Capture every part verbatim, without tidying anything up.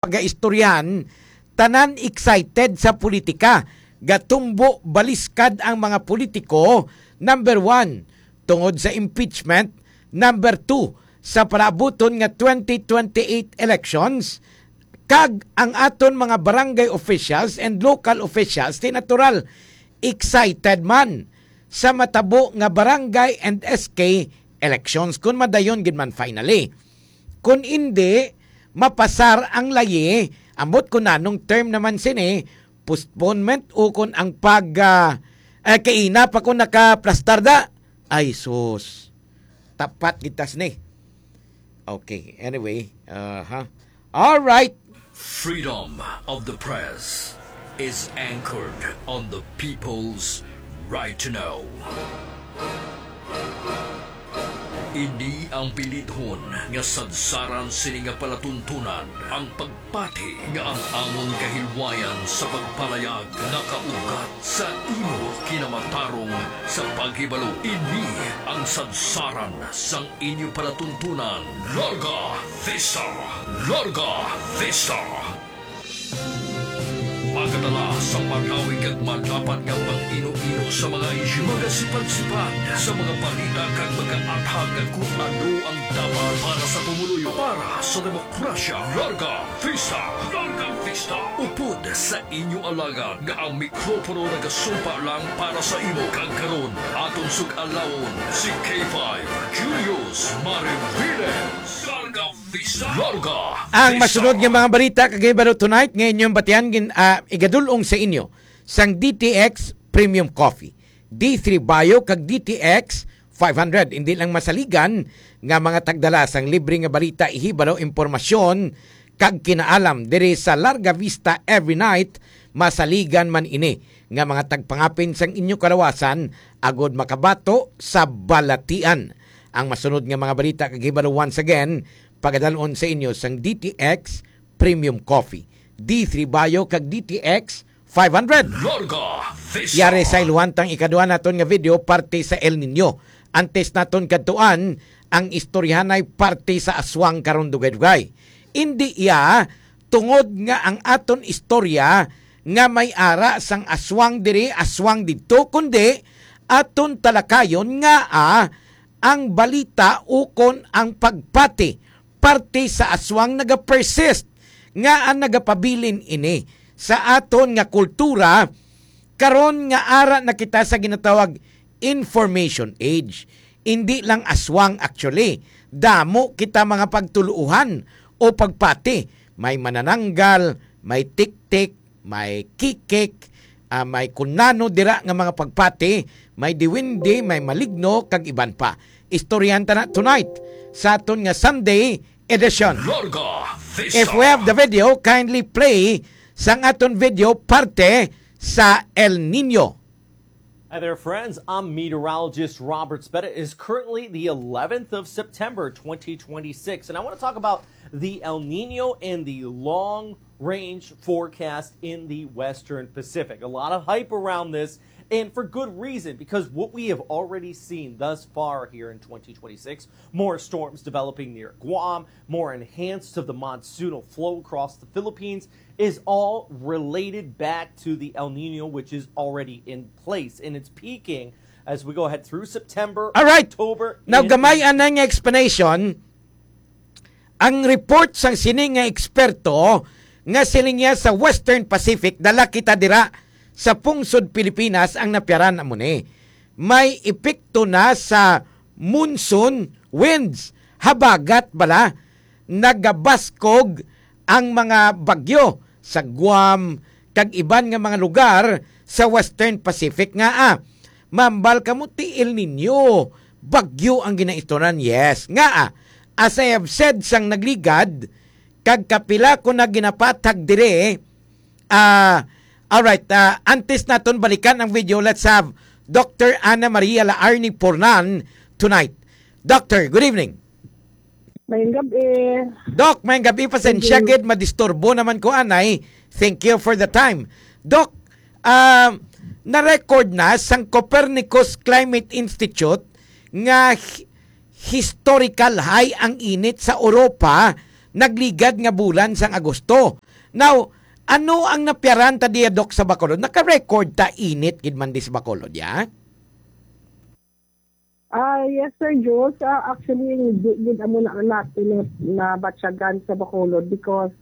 pagaistoryahan, tanan excited sa politika. Gatumbo baliskad ang mga politiko, number one, tungod sa impeachment, number two, sa palaabuton nga twenty twenty-eight elections, kag ang aton mga barangay officials and local officials, di natural, excited man sa matabo nga barangay and S K elections, kun madayon gid man finally. Kun indi, mapasar ang layi, ambot kun anong term naman sini, postponement o kun ang pag, ah, eh, kaina pa kun nakaplastar da. Ay, sus. Tapat gid tas ni. Okay, anyway, uh, ha. All right. Freedom of the press is anchored on the people's right to know. Ini ang bilidhon nga sadsaran sini nga palatuntunan, ang pagpati nga ang amon kahilwayan sa pagpalayag nakaugat sa imo kinamatarong sa paghibalo. Ini ang sadsaran sang inyo palatuntunan. Larga Vista! Larga Vista! Magadala sa malawig kag malapad nga pag-ino-ino sa mga isyu, magasipad-sipad sa mga balita kag magaathag kung ano ang dapat para sa pumuluyo, para sa demokrasya. Larga Vista! Larga Vista! Upod sa inyo alagad nga ang mikropono nagasumpa lang para sa imo. Kag karon, aton sug-alawon si K five, Julius Mariviles. Larga Vista. Larga Ang Vista. Masunod nga mga balita kag hibalo tonight nga inyong batian gin, ah, igadul-ong sa inyo sang D T X Premium Coffee, D three Bio kag D T X five hundred. Hindi lang masaligan nga mga tagdala sang libre nga balita, ihibalo, impormasyon kag kinaalam diri sa Larga Vista every night. Masaligan man ini nga mga tagpangapin sang inyo kalawasan agod makabato sa balatian. Ang masunod nga mga balita kag hibalo, once again, pagadalon sa inyo sang D T X Premium Coffee, D three Bio kag D T X five hundred. Larga Vista. Yari sa iluhantang ikadua naton nga video, parte sa El Niño. Antes naton kadtuan, ang istoryahanay parte sa aswang karon, dugay-dugay. Indi iya tungod nga ang aton istorya nga may ara sang aswang diri, aswang didto, kundi aton talakayon nga, ah, ang balita ukon ang pagpati parte sa aswang nagapersist nga ang nagapabilin ini sa aton nga kultura karon nga ara na kita sa ginatawag information age. Indi lang aswang, actually. Damo kita mga pagtuluohan o pagpati. May manananggal, may tiktik, may kikik, ah, may kunano dira nga mga pagpati, may diwindi, may maligno, kag iban pa. Istoryahan ta na tonight sa aton nga Sunday edition. Larga Vista. If we have the video, kindly play sang aton video parte sa El Niño. Hi there, friends. I'm meteorologist Robert Speta. It is currently the eleventh of September, twenty twenty-six, and I want to talk about the El Nino and the long range forecast in the Western Pacific. A lot of hype around this, and for good reason, because what we have already seen thus far here in twenty twenty-six, more storms developing near Guam, more enhanced of the monsoonal flow across the Philippines, is all related back to the El Nino, which is already in place, and it's peaking as we go ahead through September, All right. October. Now, and gamay anay nga explanation. Ang report sang sini nga eksperto nga siling niya sa Western Pacific, dala kita dira sa pungsod Pilipinas ang napiaran amo ni. May epekto na sa monsoon winds, habagat bala nagabaskog ang mga bagyo sa Guam kag iban nga mga lugar sa Western Pacific nga, ah, mambal kamo ti El Nino, bagyo ang ginaistoryahan. Yes, nga, ah, as I have said sang nagligad, kag kapila ko na ginapathag dire, ah, all right, ah, antes naton balikan ang video, let's have Doctor Ana Maria Laarni Pornan tonight. Doctor, good evening. Mayong gabi. Doc, mayong gabi. Pasensya Thank you. gid, madisturbo naman ko anay. Thank you for the time. Doc, ah, na-record na sang Copernicus Climate Institute nga hi-, historical high ang init sa Europa nagligad nga bulan sang Agosto. Now, ano ang napiaran ta diya, Doc, sa Bacolod? Naka-record ta init gid man di sa Bacolod, ya? Ah, yes, Sir Jules. Ah, actually, di gid amo na naton na, nabatyagan sa Bacolod because,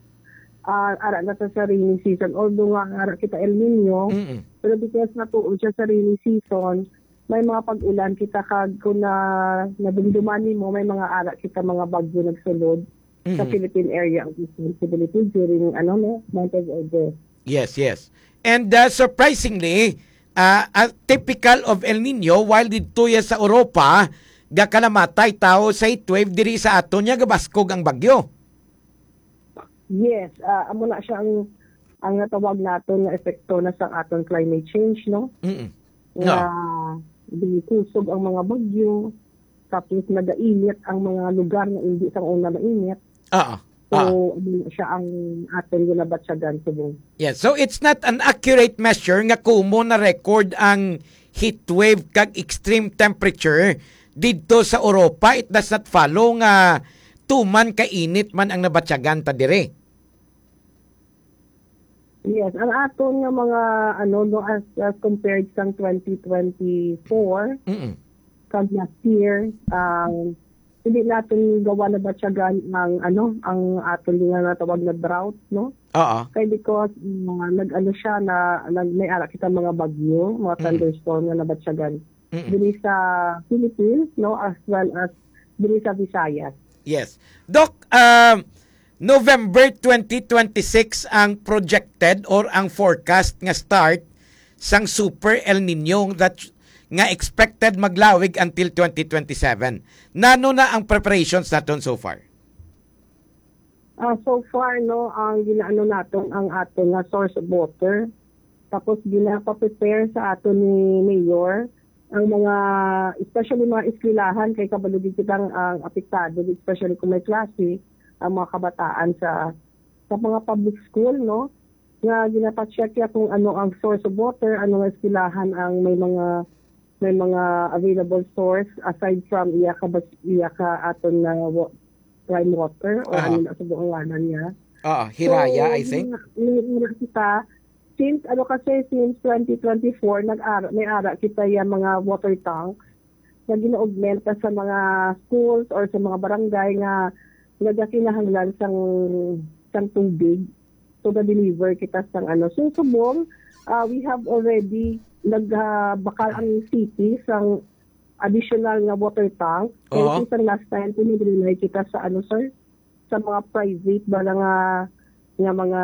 ah, ara na sa, sa rainy season. Although nga ara kita El Nino, Mm-mm. pero because natuon siya sa rainy season, may mga pag-ulan kita kag kung na, nadumduman nimo, may mga ara kita mga bagyo nagsulod sa Mhm. Philippine Area of Responsibility during, ano, no, month of August. Yes, yes. And, uh, surprisingly, uh, uh, typical of El Nino, while didto ya sa Europa, gakalamatay tawo sa heat wave, diri sa aton niya gabaskog ang bagyo. Yes, ah, amo na siya ang, ang natawag naton nga epekto na sa aton climate change, no? Mm-mm. Nga No. Kusog ang mga bagyo, tapos nagainit ang mga lugar nga hindi sang una mainit. Oo. So, Oo. Ano na siya ang aton ginabatyagan subong. Yes. So, it's not an accurate measure nga kumo na-record ang heat wave kag extreme temperature didto sa Europa. It does not follow nga tuman ka init man ang nabatyagan ta dire. Yes, ang aton nga mga, ano, no, as, as compared sang twenty twenty-four, Mm-mm. kag last year, ang hindi naton gawa nabatyagan ang, ano, ang aton nga natawag na drought, no? Oo. Kay because, uh, nag-ano siya, na, nag-, may ara kita mga bagyo, mga Mm. thunderstorm nga nabatyagan Mm-mm. diri sa Philippines, no, as well as diri sa Visayas. Yes. Doc, um, November twenty twenty-six ang projected or ang forecast nga start sang Super El Nino that, nga expected maglawig until twenty twenty-seven. Nano na ang preparations naton so far? Ah, so far, no, ang ginaano naton ang aton nga source of water. Tapos ginapaprepare sa aton ni Mayor ang mga, especially mga eskwelahan, kay kabalo gid kita ang, ang apektado, especially kung may klase, ang mga kabataan sa, sa mga public school, no, nga ginapacheck ya kung ano ang source of water, ano nga eskwelahan ang may mga, may mga available source aside from iya ka bas-, iya ka aton nga wa-, prime water or Aha. Ano na sa buong ngalan niya. Ah, Hiraya, So, I think. May, may, may kita, since, ano kasi, since twenty twenty-four, nag-ara-, may ara kita yung mga water tank na gina-augment sa mga schools or sa mga barangay nga nagakinahanglan sang, sang tubig. So, ga-deliver kita sang, ano. So, subong, ah, we have already nag-, ah, bakal ang city sang additional nga water tank. Kaya Oo. Isang last time, pinag-rely kita sa, ano, sir, sa mga private ba nga, nga mga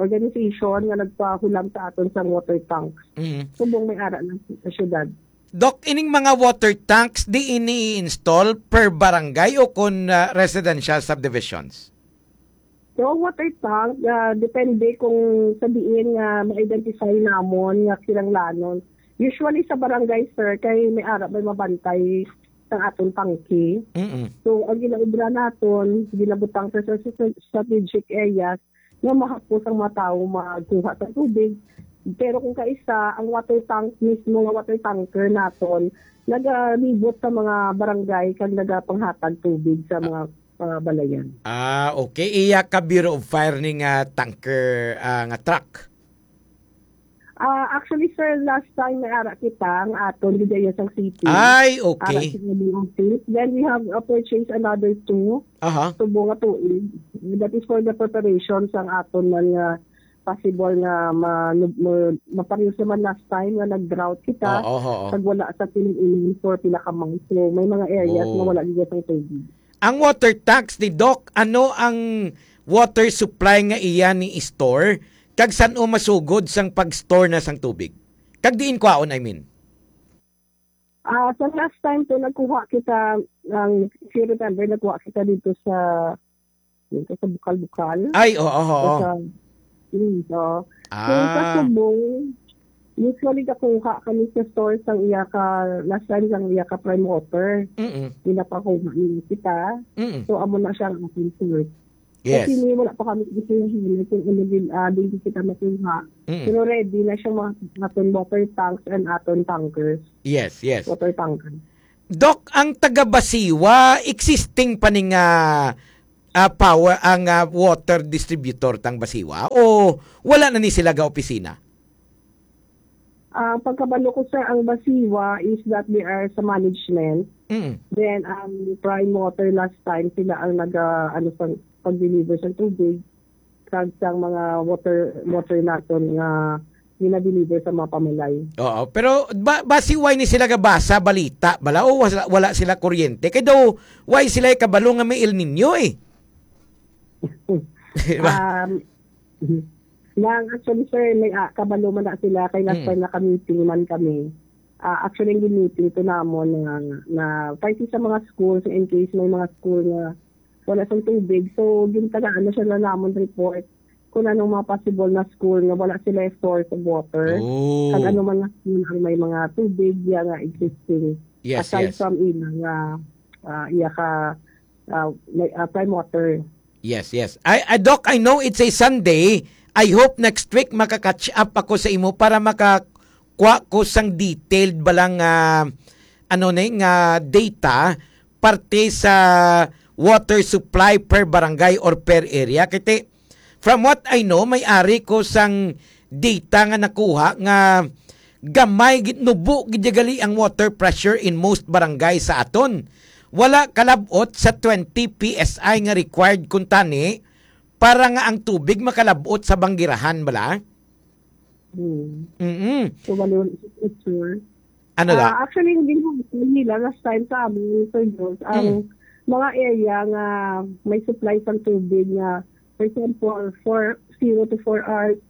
organization nga nagpahulam sa aton sa water tanks. Mm. Subong may ara na sa syudad. Doc, ining mga water tanks, di ini i-install per barangay o kon, ah, residential subdivisions? So, water tank, ah, depende kung sa diin nga ma-identify namon nga kinahanglanon. Usually sa barangay, sir, kay may ara may mabantay sa aton tangke. Mm-mm. So, ang ginaobra naton, ginabutang sa, sa, sa strategic areas nga mahapos ang mga tawo magkuha sa tubig. Pero kung kaisa, ang water tank mismo nga water tanker naton, nagalibot sa mga barangay kag nagapanghatag tubig sa mga, ah, balayan. Ah, okay. Iya ka Bureau of Fire ni nga tanker, ah, nga truck? Ah, actually, sir, last time may ara kita ang aton diri sa city. Ay, okay. Ara sa Cebu Office. Then we have, uh, purchased another two. Aha. Subong nga tuig. That is for the preparation sang aton man nga possible nga ma-, ma-, mapareho sa man last time nga nag-drought kita. Oo, oo. Kag wala sa tinuod for pila ka months. So, may mga areas Oh. nga wala gid sang tubig. Ang water tanks ni Doc, ano ang water supply nga iya ni store? Kag san-o masugod sang pag-store na sang tubig? Kag diin kwaon, I mean? Ah, sa last time to, nagkuha kita, ang, if you remember, nagkuha kita dito sa, dito sa Bukal-Bukal. Ay, oo, oo. Sa, mm, oo. So, sa Ah. Subong, usually, nakuha kami sa store sang iya ka, last time sang iya ka Prime Water. Mm-mm. Ginapakuha niya kita. Mm-mm. So, amo na siya ang ating source. Yes. Kasi ni, wala pa kami gisuyahan kung ano din, ah, din kita makuha. Mm. Pero ready na siyang mga aton water tanks and aton tankers. Yes, yes. Water tanker. Doc, ang taga Basiwa, existing pa ni nga ah, power, ang, ah, water distributor tang Basiwa, o wala na ni sila ga opisina? Ah, pagkabalo ko, sir, ang Basiwa is that they are sa management. Mm. Then, ang Prime Water last time, sila ang nag, ah, ano, sa pag-deliver sa tubig, kag sa mga water, water naton nga gina-deliver sa mga pamalay. Oo, pero ba, basi why ni sila gabasa balita bala o wala, wala sila kuryente? Kay daw, why sila kabalo nga may El Niño eh? Di ba? Um, nang actually, sir, may, ah, kabalo man na sila kay last Mm. time naka-meeting man kami. Ah, actually, ang meeting to namon na, na fighting sa mga schools in case may mga school nga wala sang tubig. So, gintagaan na siya na namon report kung anong mga possible na school nga wala sila source of water. Oh. Kag ano man nga school ang may mga tubig, ya nga existing. Yes, Aside yes. from ila nga, ah, iya ka, ah, may, ah, prime water. Yes, yes. I, I, Doc, I know it's a Sunday. I hope next week maka-catch up ako sa imo para makakuha ko sang detailed balang, ah, ano ni, nga data parte sa water supply per barangay or per area. Kay ti, from what I know, may ari ko sang data nga nakuha nga gamay gid, nubo gid gali ang water pressure in most barangay sa aton. Wala kalab-ot sa twenty P S I nga required kuntani para nga ang tubig makalab-ot sa banggirahan bala. Hmm. Mm-mm. So, bali, wala sa picture. Ano da? Ah, actually, hindi mo nila last time sa amin, Sir Jules, ang Mm. mga area nga may supply sang tubig nga, for example, for zero to four hours,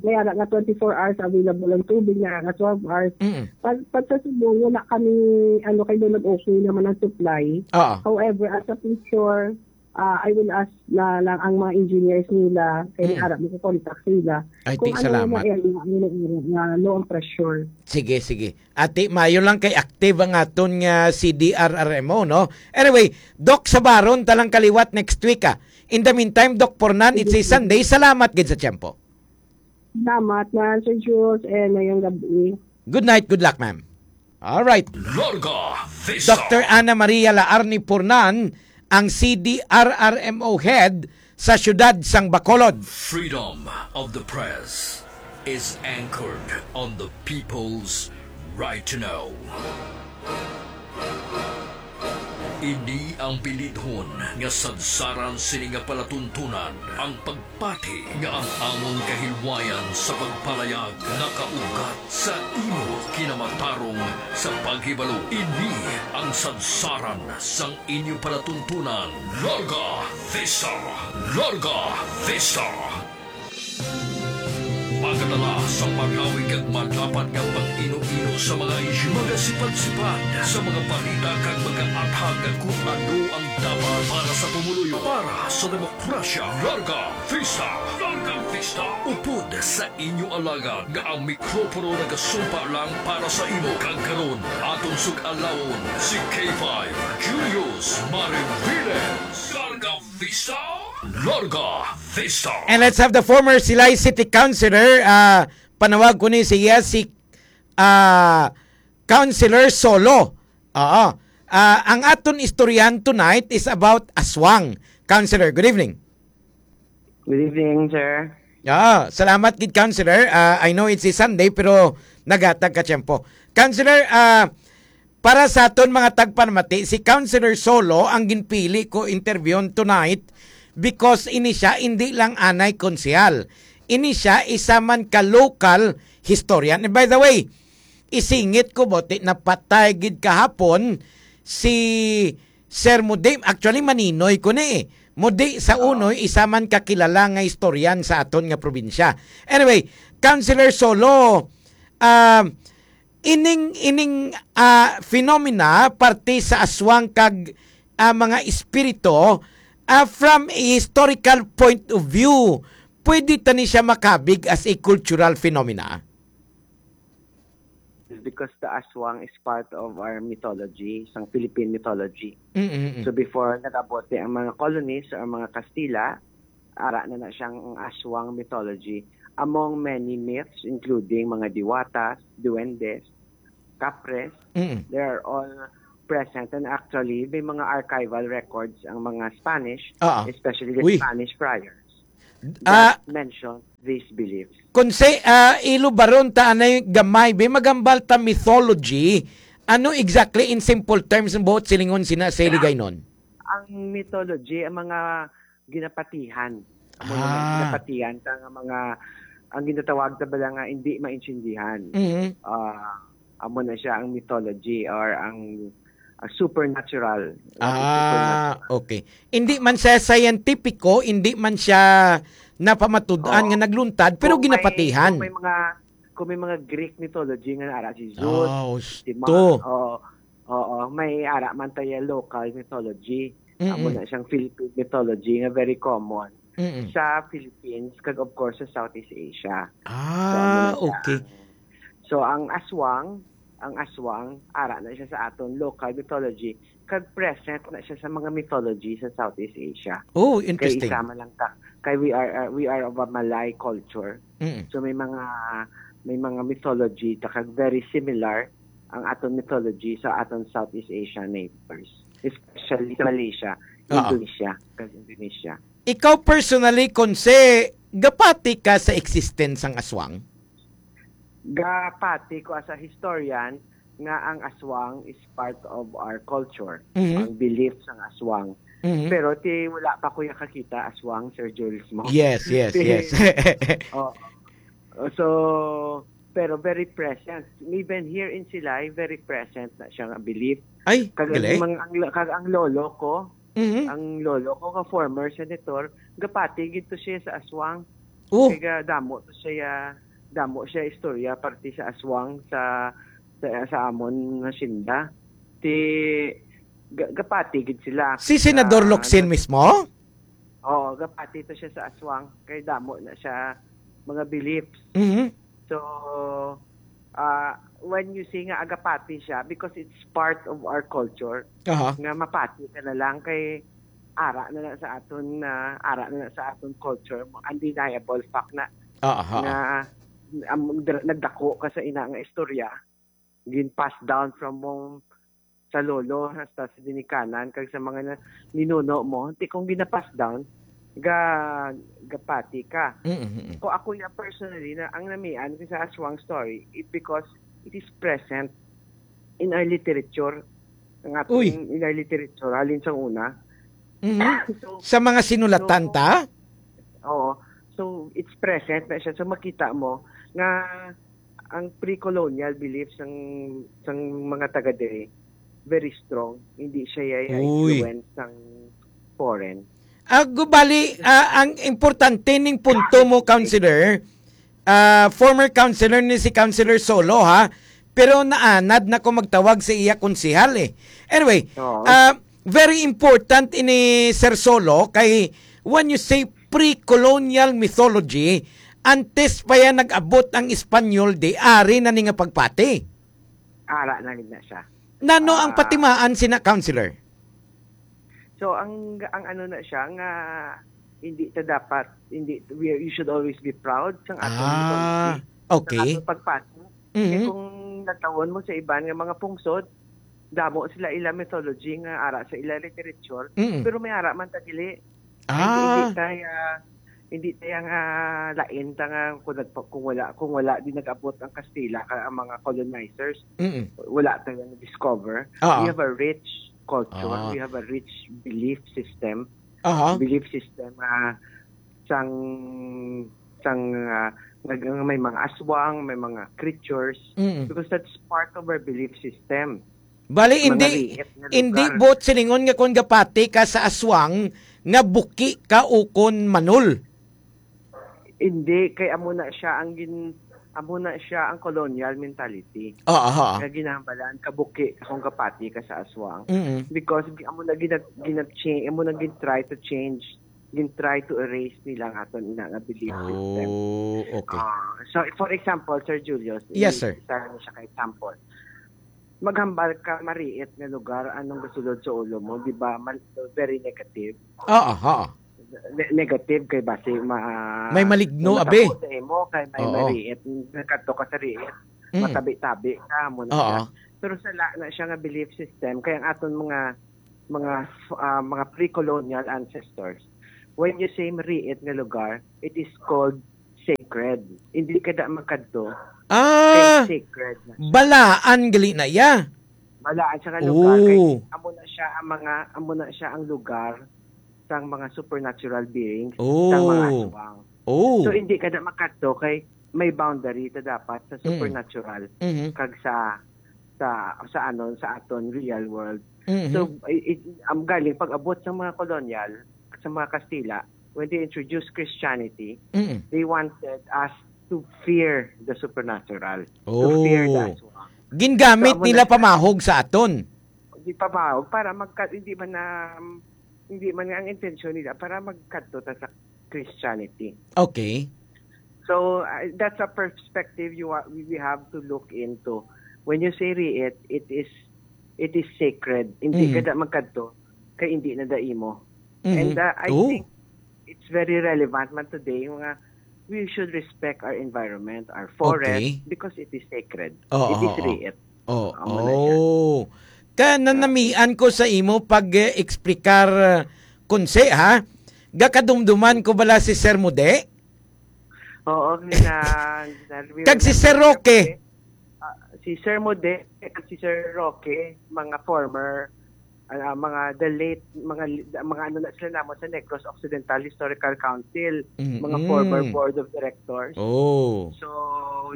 may ara nga twenty-four hours available ang tubig, may ara nga twelve hours. Mm. Pag, pag sa Cebu, wala kami, ano, kay doon nag-okay naman ang supply. Oo. However, as a picture, ah, I will ask na lang ang mga engineers nila, kay Mm. ara mo ko contact sila. Ay, Kung ti, ano salamat. yung area, ano yung area nga low ang pressure. Sige, sige. Ati, mayo lang kay active ang aton nga C D R R M O, no? Anyway, Doc, sabaron ta lang kaliwat next week, ah. In the meantime, Doc Pornan, it's a Sige. Sunday. Salamat gid sa tiyempo. Salamat, man, Sir Jules, and ngayong gabi. Good night, good luck, ma'am. All right. Larga Vista. Doctor Ana Maria Laarni Pornan, ang C D R R M O head sa siyudad sang Bacolod. Freedom of the press is anchored on the people's right to know. Ini ang bilidhon nga sadsaran sini nga palatuntunan, ang pagpati nga ang amon kahilwayan sa pagpalayag nakaugat sa imo kinamatarong sa paghibalo. Ini ang sadsaran sang inyo palatuntunan. Larga Vista! Larga Vista! Magadala sa malawig kag madapat nga pag-ino-ino sa mga isyu, magasipad-sipad sa mga balita kag magaathag kung ano ang dapat para sa pumuluyo, para sa demokrasya. Larga Vista! Larga Vista! Upod sa inyo alagad nga ang mikropono nagasumpa lang para sa imo, kag karon aton sug-alawon si K five Julius Mariviles. Larga Vista! Larga Vista! And let's have the former Silay City Councilor, ah, panawag ko ni siya si, ah, Councilor Solo. Oo. Ah, ang aton istoryahan tonight is about aswang. Councilor, good evening. Good evening, sir. Ah, salamat gid, Councilor. Ah, I know it's a Sunday, pero naghatag ka tiyempo. Councilor, ah, para sa aton mga tagpanamati, si Councilor Solo ang ginpili ko interviewon tonight because ini siya hindi lang anay konsehal. Ini siya isa man ka local historian. And by the way, isingit ko, buti napatay gid kahapon si Sir Mudi. Actually, maninoy ko ni eh. Mudi sa Oo. Unoy, isa man ka kilala nga historian sa aton nga probinsya. Anyway, Councilor Solo, ah, ining, ining, ah, phenomena, parte sa aswang kag, ah, mga espiritu, ah, from a historical point of view, pwede ta ni siya makabig as a cultural phenomena? Is because the aswang is part of our mythology, sang Philippine mythology. Mm, mm, mm. So before nag-abot ang mga colonies or mga Kastila, ara na na siyang aswang mythology. Among many myths, including mga diwatas, duendes, kapres, Mm. they are all present, and actually, may mga archival records ang mga Spanish, Ah, ah. especially the Uy. Spanish friars, Ah. that mention these beliefs. Kung say, ah, ilo baron ta anay gamay, be, magambal ta mythology, ano exactly in simple terms ang buot silingon sina sa Hiligaynon? Ang mythology, ang mga ginapatihan. Amo na, Ah. ginapatihan ta nga mga, ang ginatawag ta bala nga hindi maintindihan. Mhm. Ah, amo na siya ang mythology or ang, ang supernatural. Ang Ah, supernatural. okay. Hindi man siya scientifico, hindi man siya napamatud-an Oo. nga nagluntad, pero Kung may, ginapatihan. kung may mga, kung may mga Greek mythology nga ara si Zeus, Ah, si Ma-, husto. oo, oo, may ara man tayo local mythology. Amo Mm-mm. na siyang Philippine mythology nga very common Mm-mm. sa Philippines, kag of course sa Southeast Asia. So, amo Ah, na siya. okay. So, ang aswang, ang aswang, ara na siya sa aton local mythology, kag present na siya sa mga mythology sa Southeast Asia. Oh, Kay interesting. isa man lang ta, kay we are, uh, we are of a Malay culture. Mm. So, may mga, may mga mythology ta kag very similar ang aton mythology sa aton Southeast Asian neighbors, especially sa Malaysia, Oo. Indonesia, kag Indonesia. Ikaw personally, Conse, gapati ka sa existence sang aswang? Gapati ko as a historian nga ang aswang is part of our culture, Mhm. ang belief sang aswang. Mhm. Pero ti wala pa ko ya kakita aswang, Sir Jules, mo. Yes, yes, Ti-, yes. oh. So, pero very present. Even here in Silay, very present na siya nga belief. Ay, Kag ang galing. mga, ang, kag ang lolo ko, Mhm. ang lolo ko nga former senator, gapati gid to siya sa aswang. Oh. Kay ga-, damo to siya, damo siya istorya parte sa aswang sa, sa, sa amon nga hacienda. Ti, ga-, gapati gid sila Si Senador sa Locsin mismo? Oo, gapati to siya sa aswang. Kay damo na siya mga beliefs. Mhm. So, ah, when you say nga agapati siya, because it's part of our culture, Aha. nga mapati ka na lang kay ara na lang sa aton, ah, ara na lang sa aton culture, undeniable fact na, Ah, aha. nga, um, dra-, nagdako ka sa ina nga istorya, gin-pass down from mong sa lolo, hasta sa ginikanan, kag sa mga na-, ninuno mo, ti kung gina-pass down, ga-, gapati ka. Mm, mm, mm. Kung ako ya personally, na ang namian ko sa aswang story, it, because it is present in our literature, ang aton Uy. in our literature, halin sa una. Mhm. So, Sa mga sinulatan so, ta? Oo. So, it's present na siya. So, makita mo nga ang pre-colonial beliefs sang, sang mga taga diri, very strong. Hindi siya ya-, ya Uy. influence sang foreign. Ah, gubali, ah, ang importante ning punto mo, Counselor, ah, former counselor ni si Counselor Solo, ha? Pero naanad na ko magtawag sa iya konsehal, eh. Anyway, Oo. ah, very important ini, Sir Solo, kay when you say pre-colonial mythology, antes pa yan nag-abot ang Espanyol, di ari na ni nga pagpati. Ara na gid na siya. Nano ang Ah. patimaan sina, Counselor? So, ang, ang ano na siya nga hindi ta dapat, hindi, we, you should always be proud sang aton Ah, mythology, sang okay. aton pagpati. Kay Mhm. kung natawon mo sa iban nga mga pungsod, damo sila ila mythology nga ara sa ila literature, Mm. pero may ara man ta dili. Ah. Hindi, hindi tayo, hindi tayo nga lain ta nga kung nagpa-, kung wala, kung wala di nag-abot ang Kastila ka ang mga colonizers, Mm. wala tayo na-discover. Ah. We have a rich culture. Ah. We have a rich belief system. Aha. Belief system, ah, sang, sang, ah, nag-, may mga aswang, may mga creatures. Mm. Because that's part of our belief system. Bali, Mga hindi, riit nga hindi lugar. buot silingon nga kung gapati ka sa aswang, nga buki ka ukon manol. Hindi, kay amo na siya ang gin-, amo na siya ang colonial mentality. Ah, aha. Nga ginambalan ka buki kung gapati ka sa aswang. Mm-mm. Because gi-, amo na gina-, gina-change, amo na gin-try to change, gin-try to erase nila ang aton ina nga belief system. Oh, okay. Ah, so, for example, Sir Julius, Yes, i-, sir. isa lang siya ka example. Maghambal ka mariit nga lugar, anong gasulod sa ulo mo, di ba? Mal-, very negative. Oo, oo. Ne-, negative kay basi ma-, May maligno, may abi. matabo sa imo, kay may Oo. mariit, nagkadto ka sa riit, Mm. matabi-tabi ka, mo na Oo. siya. Pero sala na siya nga belief system, kay ang aton mga, mga, ah, mga pre-colonial ancestors, when you say mariit nga lugar, it is called sacred. Hindi ka da magkadto, kay Ah, sacred na siya. Balaan gali na iya. Balaan siya nga lugar, kay Oh. amo na siya ang mga, amo na siya ang lugar sang mga supernatural beings, sang mga Oh. aswang. Oh. So, hindi ka na makadto kay may boundary ta dapat sa Mm. supernatural Mhm. kag sa, sa, sa ano, sa aton real world. Mhm. So, i-, i-, ang galing pag-abot sa mga kolonyal, sa mga Kastila, when they introduced Christianity, Mm. they wanted us to fear the supernatural, to fear the Oh. aswang. Gingamit So, amo nila na siya. pamahog sa aton. Di pamahog para magka-, hindi man na, hindi man nga ang intensyon nila para magkadto ta sa Christianity. Okay. So, uh, that's a perspective you wa-, we, we have to look into. When you say riit, it is, it is sacred. Hindi Mm. ka da magkadto kay hindi na da imo. Mhm. And, uh, I Oh. think it's very relevant man today nga we should respect our environment, our forest, Okay. because it is sacred. Oo, It is oo. riit. Oo, Amo na siya. Oh. Ka nanamian ko sa imo pag, eh, explicar, uh, Konse, ha? Gakadumduman ko bala si Sir Mude? Oo, gina-, gina-, Kag si Sir Roque? Ah, si Sir Mude, kag si Sir Roque, mga former, ah, mga the late, mga li-, mga ano na sila namon sa Negros Occidental Historical Council, mga Mm-mm. former board of directors. Oh. So,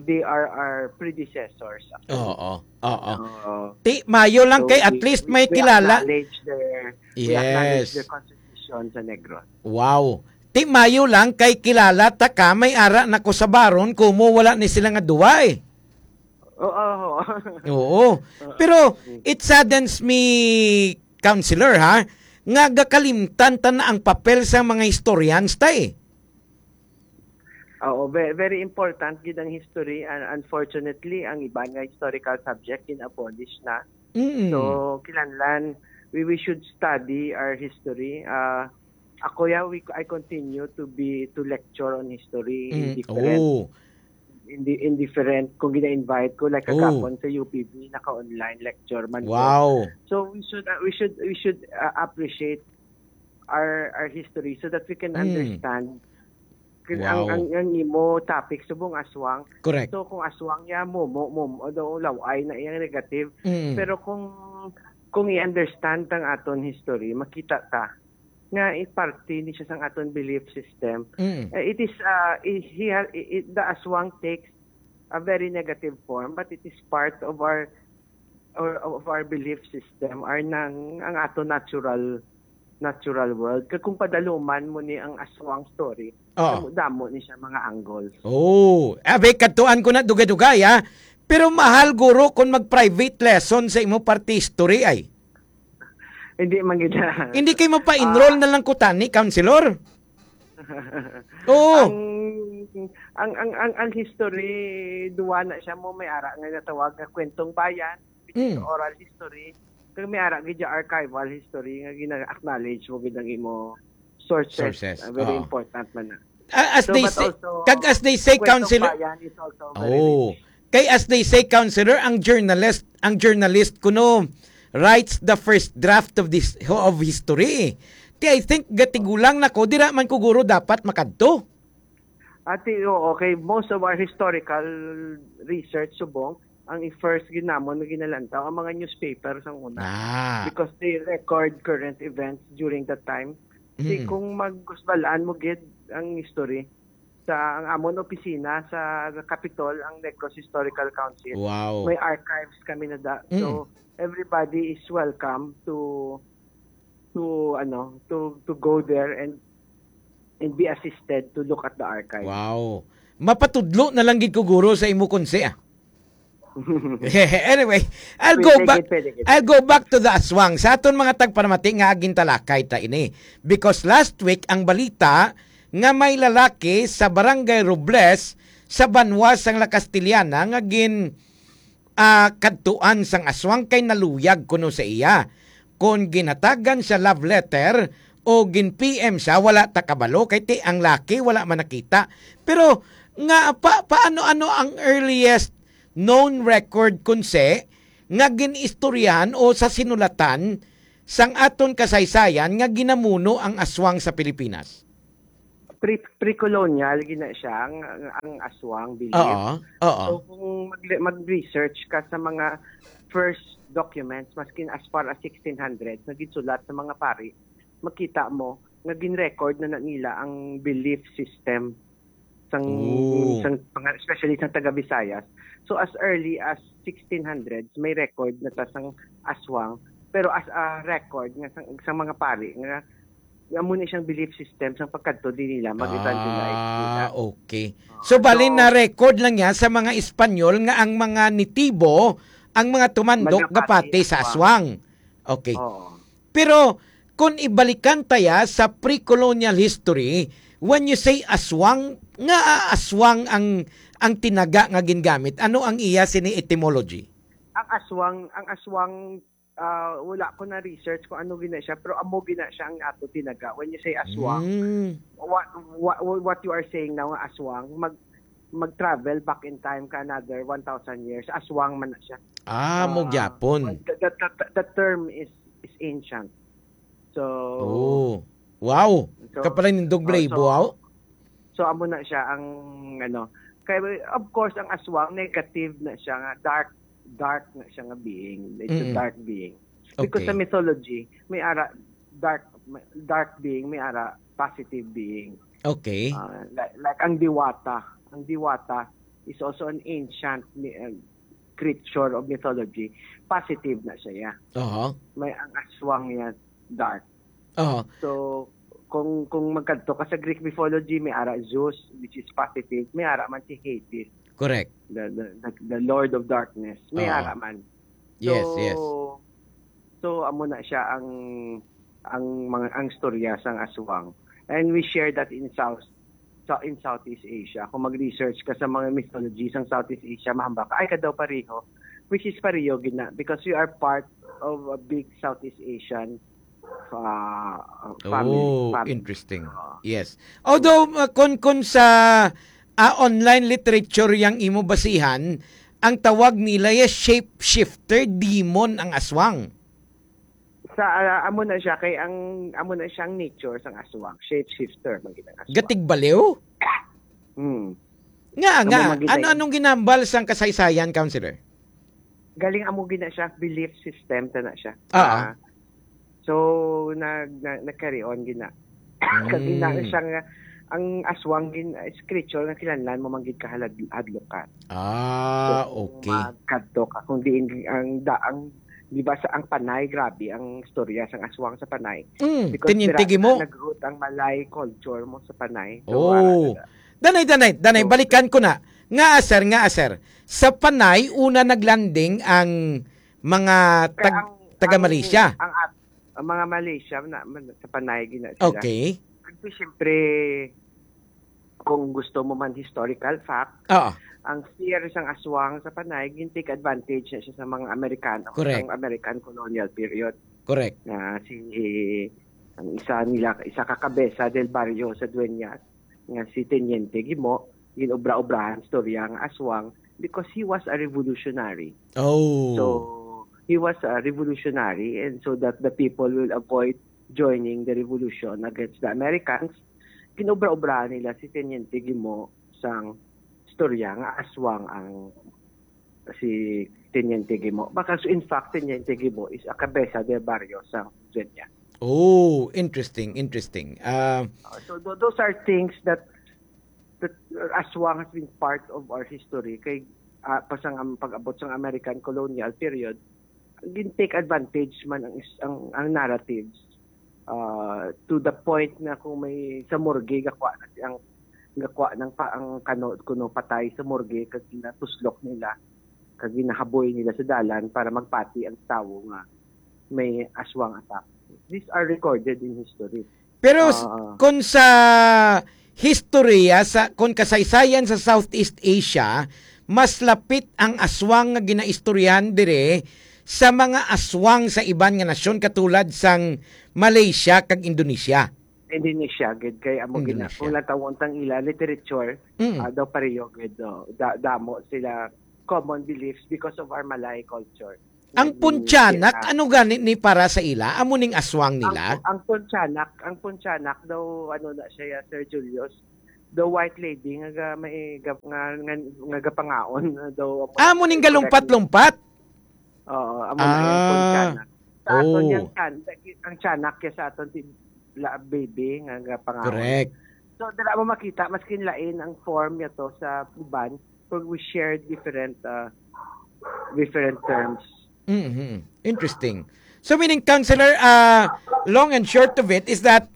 they are our predecessors, actually. Oo, oo. Oo. Ti, mayo lang So, kay at we, least we, may we kilala. acknowledge their, we acknowledge Yes. their contribution sa Negros. Wow. Ti, mayo lang kay kilala ta ka, may ara na ko sa baron, kumo wala ni sila nga duwa, eh. Oo, oo. Oo. Oo. Pero Mm. it saddens me, Counselor, ha, nga gakalimtan ta na ang papel sa mga historians ta, eh. Oo, ve-, very important gid ang history. And unfortunately, ang iban nga historical subject gin-abolish na. Mm. So, kinahanglan, we, we should study our history. Ah, ako, yeah, we, I continue to be, to lecture on history in Mm. different, Oh. in di-, in different, kung gina-invite ko, like, Oh. kagapon sa U P B, naka-online lecture man ko. Wow. So, we should, uh, we should, we should, uh, appreciate our, our history so that we can Mm. understand. Kung ang, Wow. ang, ang imo topic subong aswang. Correct. So, kung aswang ya, mo, mo, mo, although law-ay na iyang negative, Mm. pero kung, kung i-understand ang aton history, makita ta nga i-, parte ni siya sang aton belief system. Mm. Eh, it is, uh, i-, he ha-, i-, i-, the aswang takes a very negative form, but it is part of our, or of our belief system, or nang, ang ato natural, natural world. Kag kung padaluman mo ni ang aswang story, Oo. damo, damo ni siya mga angles. Oh, abe, kadtuan ko na dugay-dugay, ah. Pero mahal, guro, kung mag-private lesson sa imo parte history, ay. Hindi man gid. Hindi kay mapa-enroll Ah. na lang ko tani, counselor. Oo. Ang, ang, ang, ang, ang history, duwa na siya mo, may ara nga natawag nga kwentong bayan, which is Mm. oral history. Kag may ara gid siya archival history nga gina-acknowledge mo gid ang imo sources. Sources, Ah, very oo. important man na. Ah, as So, they but say, also, kag as they say, Kwentong Counselor, Bayan is also very Oh. rich. Kay as they say, Counselor, ang journalist, ang journalist kuno writes the first draft of this, of history. Ti, I think, gatigulang na ko, dira man ko guro dapat makadto. Ati, oo, kay most of our historical research subong, ang i-, first gid namon nga ginalantaw ang mga newspaper sang una. Ah. Because they record current events during that time. Si Mm. kung magkusbalaan mo gid ang history, sa ang amon opisina sa Capitol, ang Negros Historical Council, Wow. may archives kami na da. Mm. So, everybody is welcome to, to, ano, to, to go there and, and be assisted to look at the archive. Wow. Mapatudlo na lang gid ko, guro, sa imo, Konse, ah. Anyway, I'll go Pwede back, gid, pwede gid. I'll go back to the aswang. Sa aton mga tagpanamati nga gintalakay ta ini. Because last week, ang balita nga may lalaki sa Barangay Robles, sa banwa sang La Castellana, nga gin, ah, kadtuan sang aswang kay naluyag kuno sa iya. Kon ginhatagan siya love letter o gin-P M siya, wala ta kabalo kay ti ang laki wala man nakita. Pero nga pa, paano, ano ang earliest known record, Konse, nga gin-istoryahan o sa sinulatan sang aton kasaysayan nga ginamuno ang aswang sa Pilipinas? Pre-, pre-colonial gina siya ang, ang aswang belief. Oo, oo. So, kung mag-, mag-research ka sa mga first documents, maskin as far as sixteen hundreds, na ginsulat sa mga pari, makita mo nga gin-record na, na nila ang belief system sang, Oo. sang mga, especially sang taga Visayas. So, as early as sixteen hundreds, may record na ta sang aswang, pero as a record nga sang, sang mga pari nga, nga amo ni siyang belief system sang pagkadto din nila mag-evangelize nila. Ah, okay. Ah, So, bali so na record lang niya sa mga Espanyol nga ang mga nitibo, ang mga tumandok Nagapati gapati sa aswang. aswang. Okay. Oo. Pero kung ibalikan ta ya sa pre-colonial history, when you say aswang, nga aswang ang, ang tinaga nga gingamit? Ano ang iya sini etymology? Ang aswang, ang aswang, ah, wala ko na research kung ano gina siya, pero amo gina siya ang ato tinaga. When you say aswang, Mm. what, what, what you are saying now, nga aswang, mag, mag-travel back in time ka another one thousand years, aswang man na siya. Ah, mo Ah, gyapon. the, the, the, the term is, is ancient. So, Oh. Wow. so, Kapalan nindog oh, Blay, so, buaw? so, amo na siya ang, ano, kay, of course, ang aswang, negative na siya nga, dark, dark na siya nga being. It's a Mm-mm. dark being. Because Okay. sa mythology, may ara dark, dark being, may ara positive being. Okay. Ah, like, like ang Diwata. Ang Diwata is also an ancient mi-, uh, creature of mythology. Positive na siya, yeah. Aha. May ang aswang niya, dark. Aha. So, kung, kung magkadto ka sa Greek mythology, may ara Zeus, which is positive, may ara man si Hades, Correct. the, the, the, the Lord of Darkness. May Aha. ara man. Yes, So, yes. so, amo na siya ang, ang mga, ang storya sang aswang. And we share that in South, sa, in Southeast Asia. Kung mag-research ka sa mga mythology sang Southeast Asia, mahambal ka, "Ay, kadaw pareho," which is pareho gina, because we are part of a big Southeast Asian, uh, family, Oh, family. interesting. Oo. Yes. Although, uh, kun, kun sa, ah, online literature yang imo basihan, ang tawag nila ya shapeshifter, demon ang aswang. Sa, ah, amo na siya, kay ang, amo na siyang nature sang aswang, shapeshifter, man gid ang aswang. Gatigbaliw? Hmm. Nga, Amo nga, man gid ano, ang anong ginambal sang kasaysayan, Counselor? Galing amo gid na siya, belief system ta na siya. Ah, ah. Ah, so, nag-, na-, nag-carry on gid na. Kag Mm. ina siya nga, ang aswang gin-, is creature nga kinahanglan mo man gid kahalad-, hadlokan. Ah, So, okay. magkadto ka. Kung diin ang da-, ang, di ba, sa ang Panay, grabe ang istorya sang aswang sa Panay. Mm, Because Teniente dira Gimo. nag-root ang Malay culture mo sa Panay. So, Oh. wala na. Danay, danay, danay, So, balikan ko na. Nga, sir, nga, sir. Sa Panay, una naglanding ang mga Kaya tag-, ang, taga ang, Malaysia. ang at-, ang mga Malaysia na, man, sa Panay gina sila. Okay. Kasi siyempre, kung gusto mo man historical fact, Oo. ang fear sang aswang sa Panay, gin-take advantage na siya sa mga Amerikano, Correct. sang American colonial period. Correct. Na si, ang isa nila, isa ka kabesa del barrio sa Dueñas, nga si Teniente Gimo, gin-obra-obrahan istorya nga aswang because he was a revolutionary. Oh. So, he was a revolutionary, and so that the people will avoid joining the revolution against the Americans, ginobra-obrahan nila si Teniente Gimo sang istorya nga aswang ang si Teniente Gimo. Because in fact, Teniente Gimo is a cabeza de barrio sa Dueñas. Oh, interesting, interesting. Ah, Uh, so tho-, those are things that, that aswang has been part of our history. Kay, ah, pa sang am-, pag-abot sang American colonial period, gin-take advantage man ang is-, ang, ang narratives, ah, to the point na kung may sa morgue, gakuha na si-, ang, gakuha ng pa-, ang kano, kuno patay sa morgue, kag ginatuslok nila, kag ginahaboy nila sa dalan para magpati ang tawo nga may aswang attack. These are recorded in history. Pero s-, Ah. kun sa historya, sa, kun kasaysayan sa Southeast Asia, mas lapit ang aswang nga ginaistoryahan dire sa mga aswang sa iban nga nasyon katulad sang Malaysia kag Indonesia. Indonesia, gid, kay amo gina-, Indonesia. kung natawon tang ila literature, Mm. ah, daw pareho, gid, oh, da-, damo sila common beliefs because of our Malay culture. Ang Nag-, puntianak, sila. Ano gani ni para sa ila? Amo ning aswang Ang, nila? ang puntianak, ang puntianak daw, ano na siya, Sir Julius, the white lady nga ga-, may ga-, nga, nga, nga gapangaon daw. Amo ning galumpat-lumpat? Oo, amo na yung Ah. Sa aton Oh. yang tiyan-, ang tiyanak kaya sa aton ti-, la-, baby nga, nga pangaon. Correct. So, dala mo makita, maskin lain ang form niya to sa uban, kung we share different, uh, different terms. Mhm. Interesting. So, meaning, Counselor, uh, long and short of it is that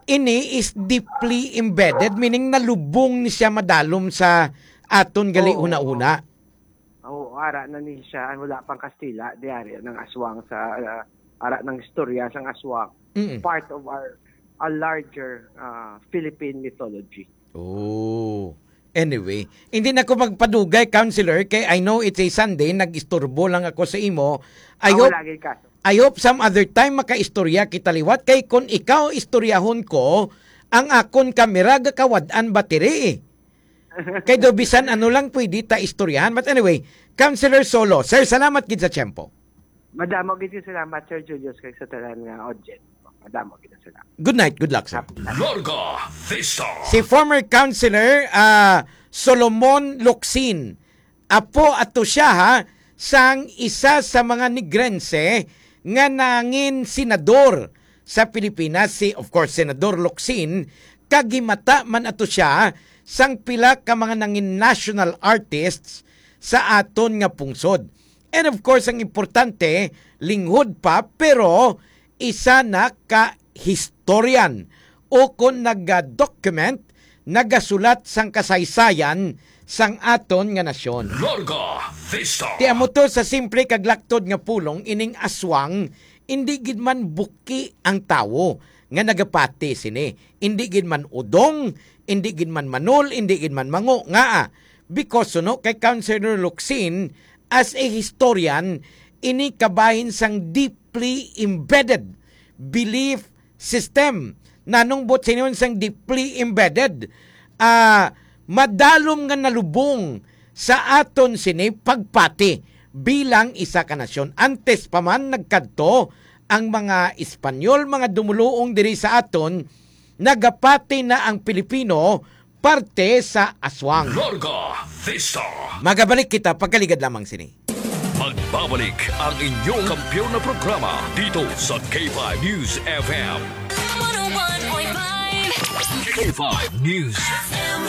ini is deeply embedded, meaning nalubong ni siya madalom sa aton gali Oo. Huna-huna. Oo, ara na ni siya, ang wala pang Kastila, di ari ng aswang sa, ah, ara ng istorya sang aswang. Mm. Part of our, a larger, ah, Philippine mythology. Oh. Anyway, hindi na ko magpadugay, Counselor, kay I know it's a Sunday, nag-istorbo lang ako sa imo. I Ako hope, lagi ka. I hope some other time makaistorya kita liwat, kay kung ikaw istoryahon ko, ang akon kamera gakawad-an battery. Kay daw bisan ano lang pwede ta istoryahan. But anyway, Counselor Solo, sir, salamat gid sa tiyempo. Madamo gid yung salamat, Sir Julius, kay sa tanan nga audience. Madamo gid ang salamat. Good night, good luck, sir. Larga Vista. Si former Counselor, ah, Solomon Locsin, apo ato siya, ha, sang isa sa mga Negrense nga nangin senador sa Pilipinas, si, of course, Senador Locsin, kag himata man ato siya sang pila ka mga nangin national artists sa aton nga pungsod. And of course, ang importante, linghod pa, pero isa na ka historian o kon naga-document, nagasulat sang kasaysayan sang aton nga nasyon. Larga Vista. Ti amo to sa simple kag laktod nga pulong, ining aswang, indi gid man buki ang tawo nga nagapati sini. Indi gid man udong, indi gid man manol, indi gid man mango. Ngaa? Because, no, kay Counselor Locsin, as a historian, ini kabahin sang deeply embedded belief system. Nanong buot sinon sang deeply embedded, ah, madalom nga nalubong sa aton sini pagpati bilang isa ka nasyon. Antes pa man nagkadto ang mga Espanyol, mga dumuluong diri sa aton, nagapati na ang Pilipino parte sa aswang. Larga Vista. Magabalik kita pagkaligad lamang sini. Magbabalik ang inyong kampiyon na programa dito sa K five News F M. One oh one point five. K five News F M.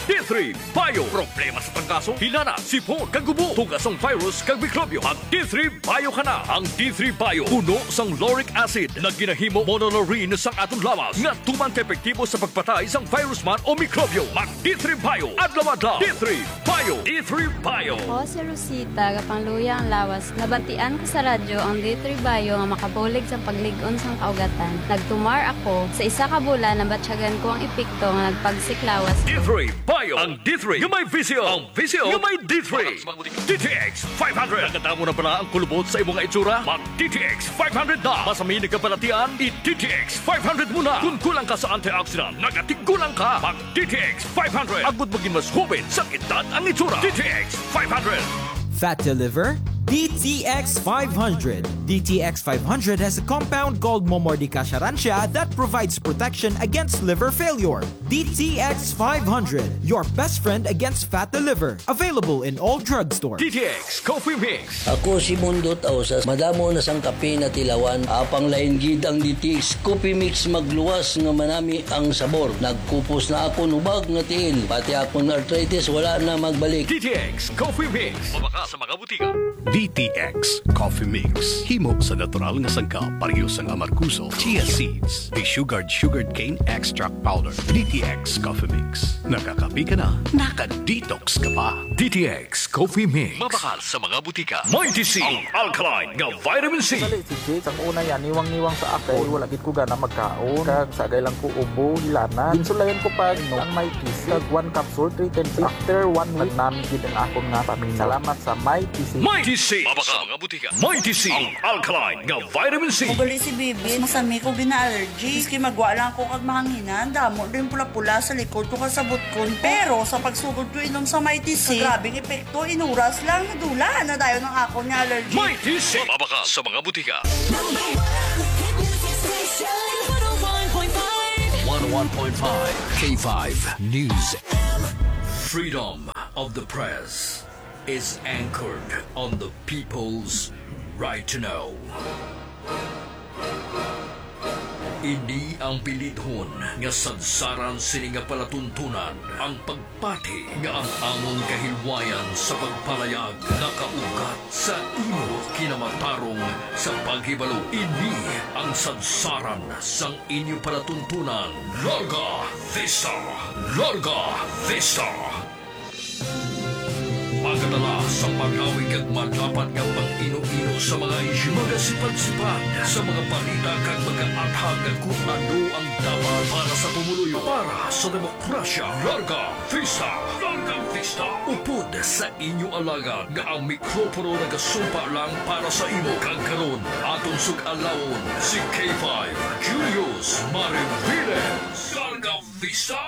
D three Bio. Problema sa trangkaso, hilanat, sipon, kag ubo, tugas ang virus kag mikrobyo. Mag D three Bio ka na. Ang D three Bio puno sang lauric acid nga ginahimo monolaurin sang aton lawas nga tuman ka epektibo sa pagpatay sang virus man o mikrobyo. Mag D three Bio adlaw-adlaw. D three Bio. D three Bio. Ako si Rosita, gapangluya ang lawas. Nabatian ko sa radyo ang D three Bio nga makabulig sa paglig-on sang kaugatan. Nagtumar ako. Sa isa ka bulan, nabatyagan ko ang epekto nga nagpagsik lawas ko. D three Bio. Ang D three nga may vision. Ang vision nga may D three. D T X five hundred. Nakadamo na bala ang kulubot sa imo nga itsura? Mag D T X five hundred na. Masami nagkabalatian, i D T X five hundred mo na. Kung kulang ka sa antioxidant, nagatigulang ka. Mag D T X five hundred. Agud maging mas hubit sa edad ang itsura. D T X five hundred. Fat to liver? D T X five hundred. D T X five hundred has a compound called Momordica charantia that provides protection against liver failure. D T X five hundred, your best friend against fat to liver. Available in all drugstores. D T X Coffee Mix. Ako si Mundot Ausas, madamo na sang kape natilawan, apang lain gid ang D T X Coffee Mix, magluwas nga manami ang sabor. Nagkupos na akon hubag nga tiil, pati akon arthritis wala na magbalik. D T X Coffee Mix. Mabakal sa mga butika. D T X Coffee Mix. Himo sa natural nga sangkap, pareho sang amargoso, chia seeds, desugared sugarcane extract powder. D T X Coffee Mix. Nakakape ka na, naka-detox ka pa. D T X Coffee Mix. Mabakal sa mga butika. Mighty C, ang alkaline nga vitamin C. Sali si Jade, sang una yan, niwang-niwang sa ako. Wala gid ko gana magkaon. Kag sagay lang ko ubo, hilanat. Ginsulayan ko pa, inom ang Mighty C. Kag one capsule, three times. After one week, nagnami gid ang akon nga paminyo. Salamat sa Mighty C. Mighty C, Mighty C. Mabakal sa mga butika. Mighty C, ang alkaline nga vitamin C. Ugali si Bibi, masami ko gina-allergy. Maski magwa lang ako kag mahanginan, damo din pula-pula sa likod ko kag sa butkon. Pero sa pagsugod ko inom sa Mighty C, grabing epekto, inuras lang, nadula na dayon ang akon nga allergy. Mighty C. Mabakal sa mga butika. Number one hit music station. One oh one point five. One oh one point five K five News. Freedom of the press is anchored on the people's right to know. Ini ang bilidhon nga sadsaran sini nga palatuntunan, ang pagpati nga ang amon kahilwayan sa pagpalayag nakaugat sa imo kinamatarong sa paghibalo. Ini ang sadsaran sang inyo palatuntunan. Larga Vista! Larga Vista! Magadala sa pagawig kag madapat nga pag-ino-ino sa mga isyu, magasipad-sipad sa mga balita kag magaathag kung ano ang dapat para sa pumuluyo, para sa demokrasya. Larga Vista! Larga Vista! Upod sa inyo alagad nga ang mikropono nagasumpa lang para sa imo. Kag karon, aton sug-alawon si K five Julius Mariviles. Larga Vista!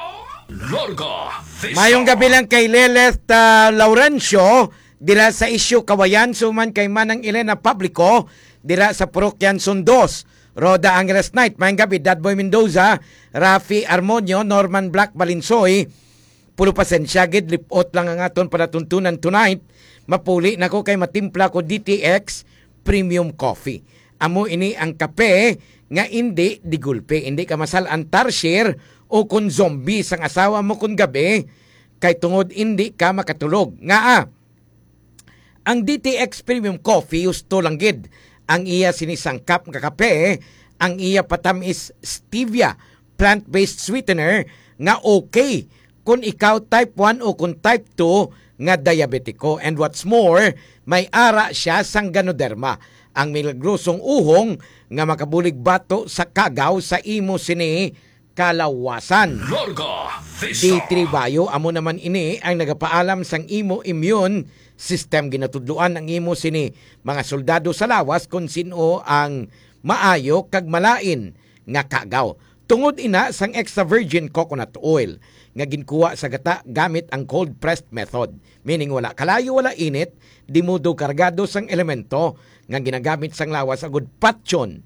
Larga Vista! Mayong gabi lang kay Lilith, ah, Laurencio, dira sa Isyu Kawayan, suman kay Manang Elena Publico, dira sa Parokya Anson Dos. Rhoda Angeles Knight, mayong gabi, Dadboy Mendoza, Rafi Armonio, Norman Black Balinsoy, Pulo pasensya gid, lipot lang ang aton palatuntunan tonight. Mapuli na ko kay matimpla ko D T X Premium Coffee. Amo ini ang kape nga indi digulpe, indi ka masal-an tarsier o kon zombie sang asawa mo kon gabi, kay tungod indi ka makatulog. Ngaa? Ang D T X Premium Coffee, husto lang gid ang iya sinisangkap nga kape, ang iya patam-is stevia, plant-based sweetener nga okay kon ikaw type one o kon type two nga diabetiko. And what's more, may ara siya sang Ganoderma, ang milagrosong uhong nga makabulig bato sa kagaw sa imo sini kalawasan. Larga Vista. D three Bio, amo naman ini ang nagapaalam sang imo immune system. Ginatudloan ang imo sini mga soldado sa lawas kon sin-o ang maayo kag malain nga kagaw. Tungod ina sang extra virgin coconut oil nga ginkuha sa gata gamit ang cold pressed method, meaning wala kalayo, wala init, di mudo kargado sang elemento nga ginagamit sang lawas agud patyon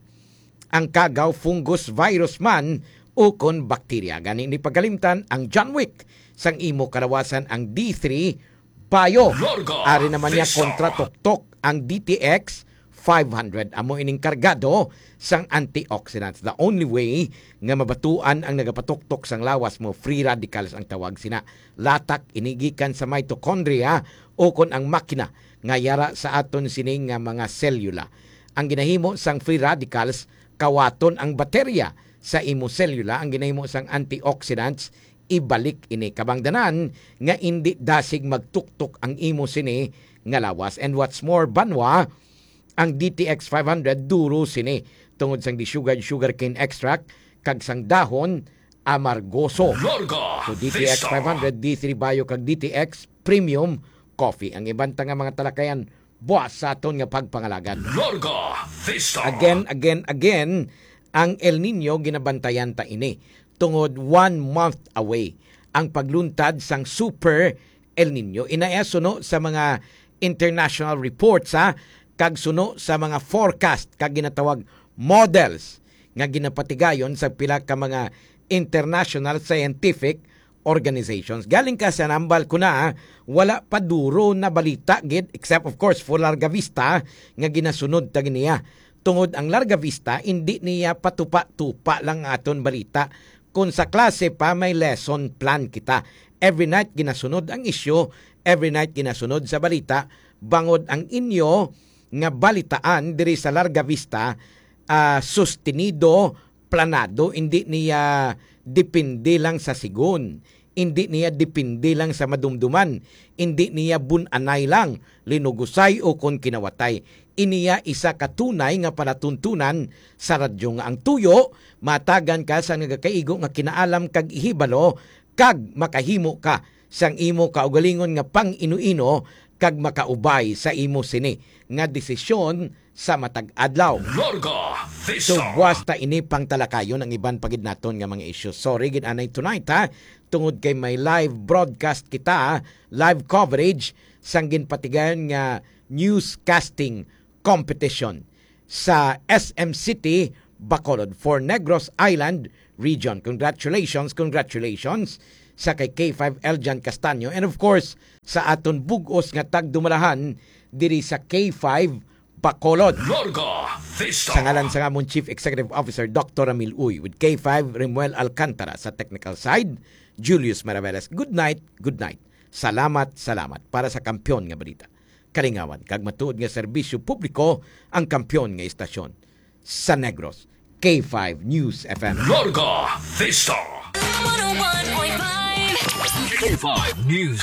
ang kagaw, fungus, virus man, o kon bakterya. Gani, hindi pagkalimtan ang John Wick sang imo kalawasan, ang D three Bio. Larga Ari naman niya Vista. Kontra tuktok ang D T X five hundred. Amo ining kargado sang antioxidants. The only way nga mabatuan ang nagapatuktok sang lawas mo, free radicals ang tawag sina. Latak ini gikan sa mitochondria o kon ang makina nga yara sa aton sining nga mga selula. Ang ginahimo sang free radicals, kawaton ang baterya sa imo selula. Ang ginahimo sang antioxidants, ibalik ini. Kabangdanan nga indi dasig magtuktok ang imo sini nga lawas. And what's more, banwa, ang D T X five hundred duro sini tungod sang desugared sugarcane extract kag sang dahon amargoso. Larga So, D T X Vista. Five hundred, D three Bio, kag D T X Premium Coffee. Ang iban ta nga mga talakayan, buas sa aton nga pagpangalagan. Larga Vista. Again, again, again, ang El Nino, ginabantayan ta ini. Tungod one month away ang pagluntad sang Super El Nino. Inaya suno sa mga international reports, ha, kag suno sa mga forecast kag ginatawag models nga ginapatigayon sa pila ka mga international scientific organizations. Galing ka sa nambal ko na, wala pa duro na balita gid, except of course for Larga Vista nga ginasunod ta giniya. Tungod ang Larga Vista, hindi niya patupa-tupa lang aton balita. Kung sa klase pa, may lesson plan kita. Every night ginasunod ang isyu, every night ginasunod sa balita, bangod ang inyo nga balitaan diri sa Larga Vista, ah, sustenido, planado, hindi niya depende lang sa sigon, hindi niya depende lang sa madumduman, hindi niya bun-anay lang, linugusay o kon kinawatay. Iniya isa ka tunay nga palatuntunan sa radyo nga ang tuyo, matagan ka sa nagakaigo nga kinaalam kag ihibalo, kag makahimo ka sang imo kaugalingon nga pang-ino-ino kag makaubay sa imo sini nga desisyon sa matag adlaw. Larga Vista. So, buwas ta ini pangtalakayon ang iban pa gid naton nga mga issues. Sorry gid anay tonight, ha, tungod kay may live broadcast kita, live coverage sang ginpatigayon nga newscasting competition sa S M City, Bacolod for Negros Island Region. Congratulations, congratulations sa kay K five Eljan Castaño and of course sa aton bug-os nga tagdumalahan diri sa K five Bacolod. Larga Vista. Sa ngalan sang amon Chief Executive Officer Doctor Ramil Uy, with K five Rimuel Alcantara sa technical side, Julius Maraveles. Good night, good night. Salamat, salamat para sa kampiyon nga balita, kalingawan kag matuod nga serbisyo publiko ang kampiyon nga istasyon sa Negros, K five News F M. Larga Vista. One oh one point five. K five News.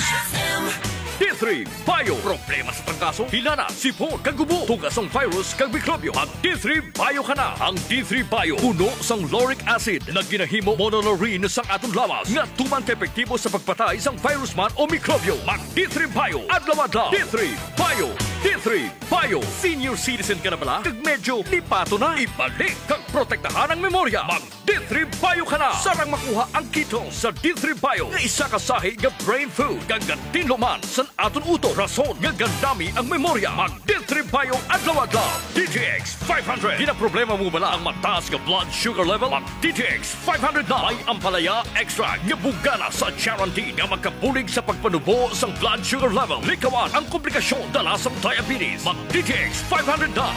D three Bio. Problema sa trangkaso, hilanat, sipon, kag ubo, tugas sang virus kag mikrobyo. Mag D three Bio ka na. Ang D three Bio puno sang lauric acid na ginahimo monolaurin sang aton lawas nga tuman ka epektibo sa pagpatay sang virus man o mikrobyo. Mag D three Bio adlaw-adlaw. D three Bio. D three Bio. Senior citizen ka na bala? Kag medyo lipato na? Ibalik kag protektahan ang memorya. Mag D three Bio ka na. Sarang makuha ang kito sa D three Bio nga isa ka sahi nga brain food kag gatinlo man sa aton utok, rason nga gandami ang memorya. Mag D three Bio adlaw-adlaw. D T X five hundred. Ginaproblema mo bala ang mataas nga blood sugar level? Mag D T X five hundred na. May ampalaya extract nga bugana sa charantin nga makabulig sa pagpanubo sang blood sugar level. Likawan ang komplikasyon dala sang diabetes. Mag D T X five hundred na.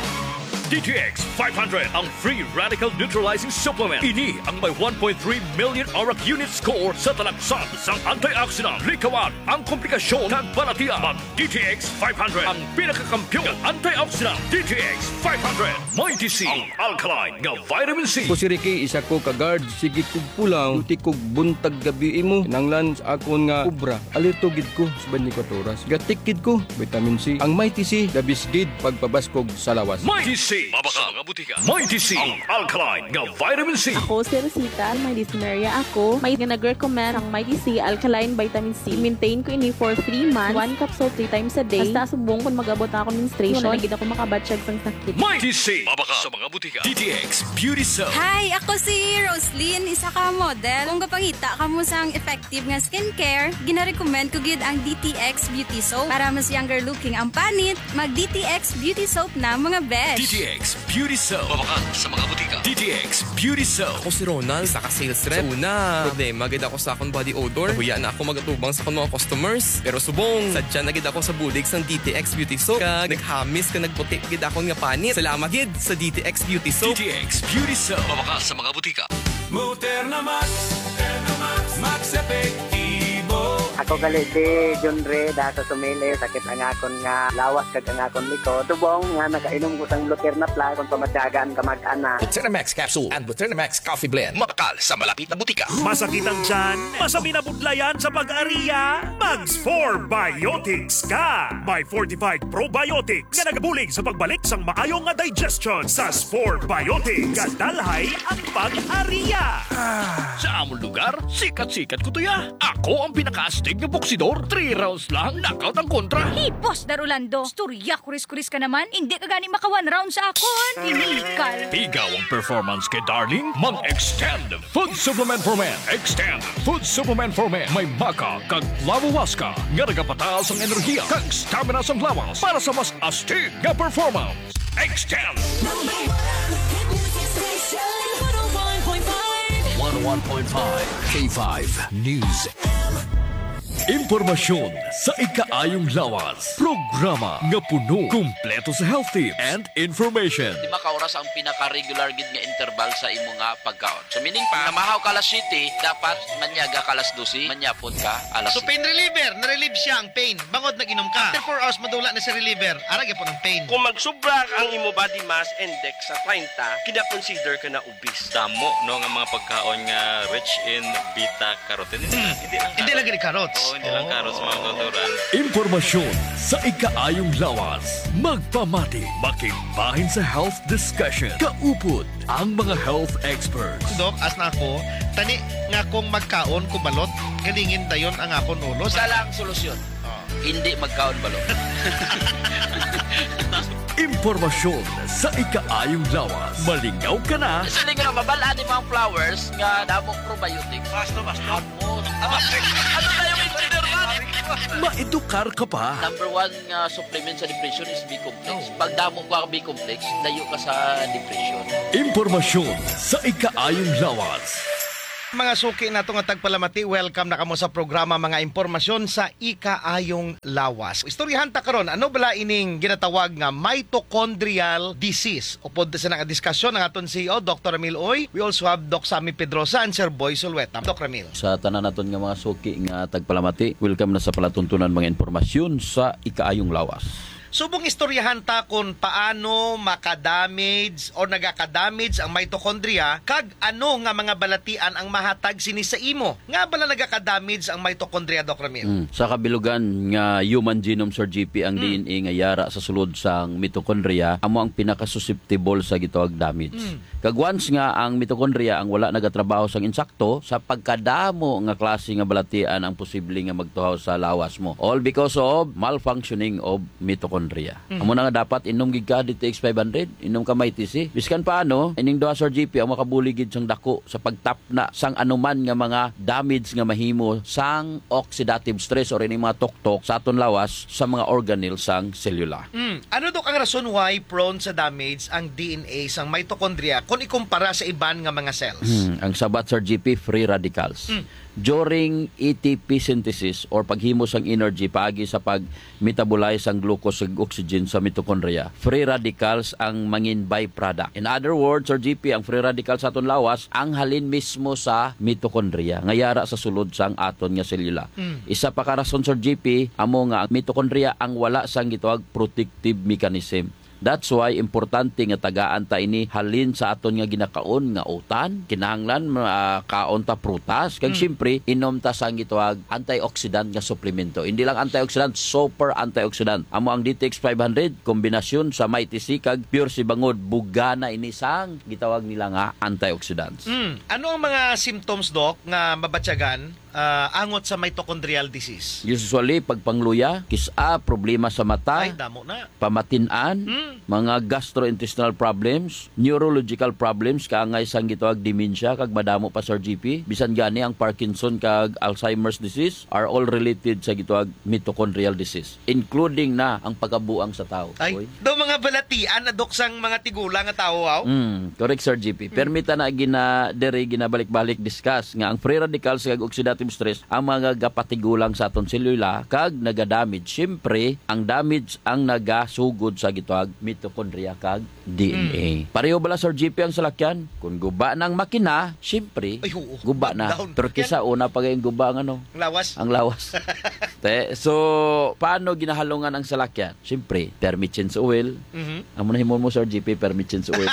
D T X five hundred, ang free radical neutralizing supplement. Ini ang may one point three million ORAC unit score sa talaksan sang antioxidant. Likawan ang komplikasyon kag balatian. Mag D T X five hundred, ang pinakakampiyon nga antioxidant. D T X five hundred, Mighty C, ang alkaline nga vitamin C. Ako si Ricky, isa ko ka guard. Sige kog pulaw, duty kog buntag gabi imo. Kinahanglan sa akon nga obra, alerto gid ko sa twenty-four oras. Gatik gid ko, vitamin C. Ang Mighty C, the best gid pagpabaskog sa lawas. Mighty C, mabakal sa mga butika. Mighty C, ang alkaline nga vitamin C. Ako si Rosita, may dysmenorrhea ako. May nga nag-recommend ang Mighty C alkaline vitamin C. Maintain ko ini for three months. One capsule three times a day. Hasta subong kung mag-abot na ako menstruation, wala na gid ako makabatyag sang sakit. Mighty C, mabakal sa mga butika. D T X Beauty Soap. Hi, ako si Roslyn, isa ka model. Kung gapangita kamo sang effective nga skincare, ginarecommend ko gid ang D T X Beauty Soap. Para mas younger looking ang panit, mag D T X Beauty Soap na, mga besh. D T X Beauty Soap. Mabakal sa mga butika. D T X Beauty Soap. Ako si Ronald, isa ka sales rep. Sa una, problema gid ako sa akong body odor. Nahuya na ako magatubang sa akong mga customers. Pero subong, sadya na gid ako sa bulig sang D T X Beauty Soap. Kag naghamis kag nagputi gid akon nga panit. Salamat gid sa D T X Beauty Soap. D T X Beauty Soap. Mabakal sa mga butika. Moderna Max, Moderna Max, Max Epektibo. Ako gali si John Ray, da sa Sumili, sakit ang akon nga lawas kag ang akon likod. Subong nga nakainom ko sang Luterna Plus, kung pamatyagan ka mag-ana. Buterna Max Capsule and Buterna Max Coffee Blend. Mabakal sa malapit na butika. Masakit ang tiyan? Masabi na budlayan sa pag-ariya? Mag Spore Biotics ka! May fortified probiotics nga nagabulig sa pagbalik sang maayo nga digestion. Sa Spore Biotics, gadalhay ang pag-ariya. Sa amon lugar, sikat-sikat ko to ya. Ako ang pinakaastig nga boksidor. Three rounds lang, knockout ang kontra. Hipos, Dar Orlando. Istorya, kuris-kuris ka naman. Hindi ka gani maka one round sa akon. Iniikal. Pigaw ang performance kay Darling. Mag-Extend Food Supplement for Men. Extend Food Supplement for Men. May maca kag flavohuasca nga nagapataas ang enerhiya kag stamina sang lawas para sa mas astig nga performance. Extend. Number one hit music station, one oh one point five. One oh one point five K five News. Impormasyon sa ikaayong lawas. Programa nga puno, kumpleto sa health tips and information. Lima ka oras ang pinaka-regular gid nga interval sa imo nga pagkaon. So, meaning pa, namahaw ka alas siyete, dapat manyaga ka alas dose, manyapon ka alas So, siyete. Pain reliever, na-relieve siya ang pain. Bangod nag-inom ka. After four hours, madula na si reliever. Ara gyapon ang pain. Kung magsubra ang imo body mass index sa treinta, kina-consider ka na obese. Damo, no, nga mga pagkaon nga rich in beta carotene. Mm. Hindi lang Hindi carrots. Lagi ni carrots. Oo, Ilang karos, mga kauturan? Impormasyon sa ikaayong lawas. Magpamati, makigbahin sa health discussion. Kaupod ang mga health experts. Doc, as na ako, tani nga kung magkaon ko balot, galingin dayon ang akon ulo. Isa lang solusyon. Oh. Hindi magkaon balot. Impormasyon sa ikaayong lawas. Malingaw ka na. Siling nga mabal-an ni mga flowers nga damong probiotics. Basta, basta. Ano? Ano tayo engineer man? Maedukar ka pa. Number one nga supplement sa depression is B-complex. Oh. Pag damo ka B-complex, layo ka sa depression. Impormasyon sa ikaayong lawas. Mga suki nato nga tagpalamati, welcome na kamo sa programa Mga Impormasyon sa Ikaayong Lawas. Istoryahan ta karon, ano bala ining ginatawag nga mitochondrial disease? Upod sa nga diskusyon ang aton C E O, Doctor Ramil Uy. We also have Doc Sammy Pedrosa and Sir Boy Sulueta. Doc Ramil. Sa tanan naton nga mga suki nga tagpalamati, welcome na sa palatuntunan mga impormasyon sa ikaayong lawas. Subong istoryahan ta kung paano makadamage o nagakadamage ang mitochondria kag ano nga mga balatian ang mahatag sini sa imo. Nga bala nagakadamage ang mitochondria, Doc Ramil? Mm. Sa kabilugan nga human genome, Sir G P, ang Mm. D N A nga yara sa sulod sang mitochondria amo ang pinakasusceptible sa gitawag damage. Mm. Kag once nga ang mitochondria ang wala nagatrabaho sang insakto, sa pagkadamo nga klase nga balatian ang posible nga magtuhaw sa lawas mo. All because of malfunctioning of mitochondria. Mm. Amo na nga dapat inom gid ka D T X five hundred, inom ka Mighty C. Biskan paano, ining duha, Sir G P, ang makabulig gid sang dako sa pagtapna sang anuman nga mga damage nga mahimo sang oxidative stress or ining mga tuktok sa aton lawas sa mga organelle sang selula. Mm. Ano, Doc, ang rason why prone sa damage ang D N A sang mitochondria kung ikumpara sa iban nga mga cells? Hmm, ang sabat, Sir G P, free radicals. Mm. During A T P synthesis or paghimo sang energy paagi sa pag-metabolize sang glucose ug oxygen sa mitochondria, free radicals ang mangin byproduct. In other words, Sir G P, ang free radicals sa aton lawas ang halin mismo sa mitochondria nga yara sa sulod sang aton nga selula. Mm. Isa pa ka rason, Sir G P, amo nga ang mitochondria ang wala sang gitawag protective mechanism. That's why importante nga tagaan ta ini halin sa aton nga ginakaon nga utan. Kinahanglan, ah, kaon ta prutas. Kag Mm. siyempre, inom ta sang gitawag antioxidant nga suplemento. Hindi lang antioxidant, super antioxidant. Amo ang D T X five hundred, kombinasyon sa Mighty C kag Pure C, bangod bugana ini sang gitawag nila nga antioxidants. Mm. Ano ang mga symptoms, Doc, nga mabatyagan, ah, angot sa mitochondrial disease? Usually, pagpangluya, kis-a, problema sa mata, Ay, damo na. pamatin-an, Mm. mga gastrointestinal problems, neurological problems, kaangay sang gitawag dementia, kag madamo pa, Sir G P. Bisan gani ang Parkinson kag Alzheimer's disease are all related sa gitawag mitochondrial disease, including na ang pagkabuang sa tawo. Ay, Uy. Daw mga balatian na, Dok, sang mga tigulang nga tawo, aw? Mm, correct, Sir G P. Mm. Permi ta na gina-, diri ginabalik-balik discuss nga ang free radicals kag oxidative stress ang mga gapatigulang sa aton selula kag nagadamage. Siyempre, ang damage ang nagasugod sa gitawag mitochondria kag D N A. Mm. Pareho bala, Sir G P, ang salakyan? Kung guba na ang makina, siyempre, Ay, oo. guba na. Down. Pero Yan. kisa una pa gayong guba ang ano? Ang lawas. Ang lawas. Te, so, paano ginahalungan ang salakyan? Siyempre, permi change oil. Mhm. Amo na himo mo, Sir G P, permi change oil.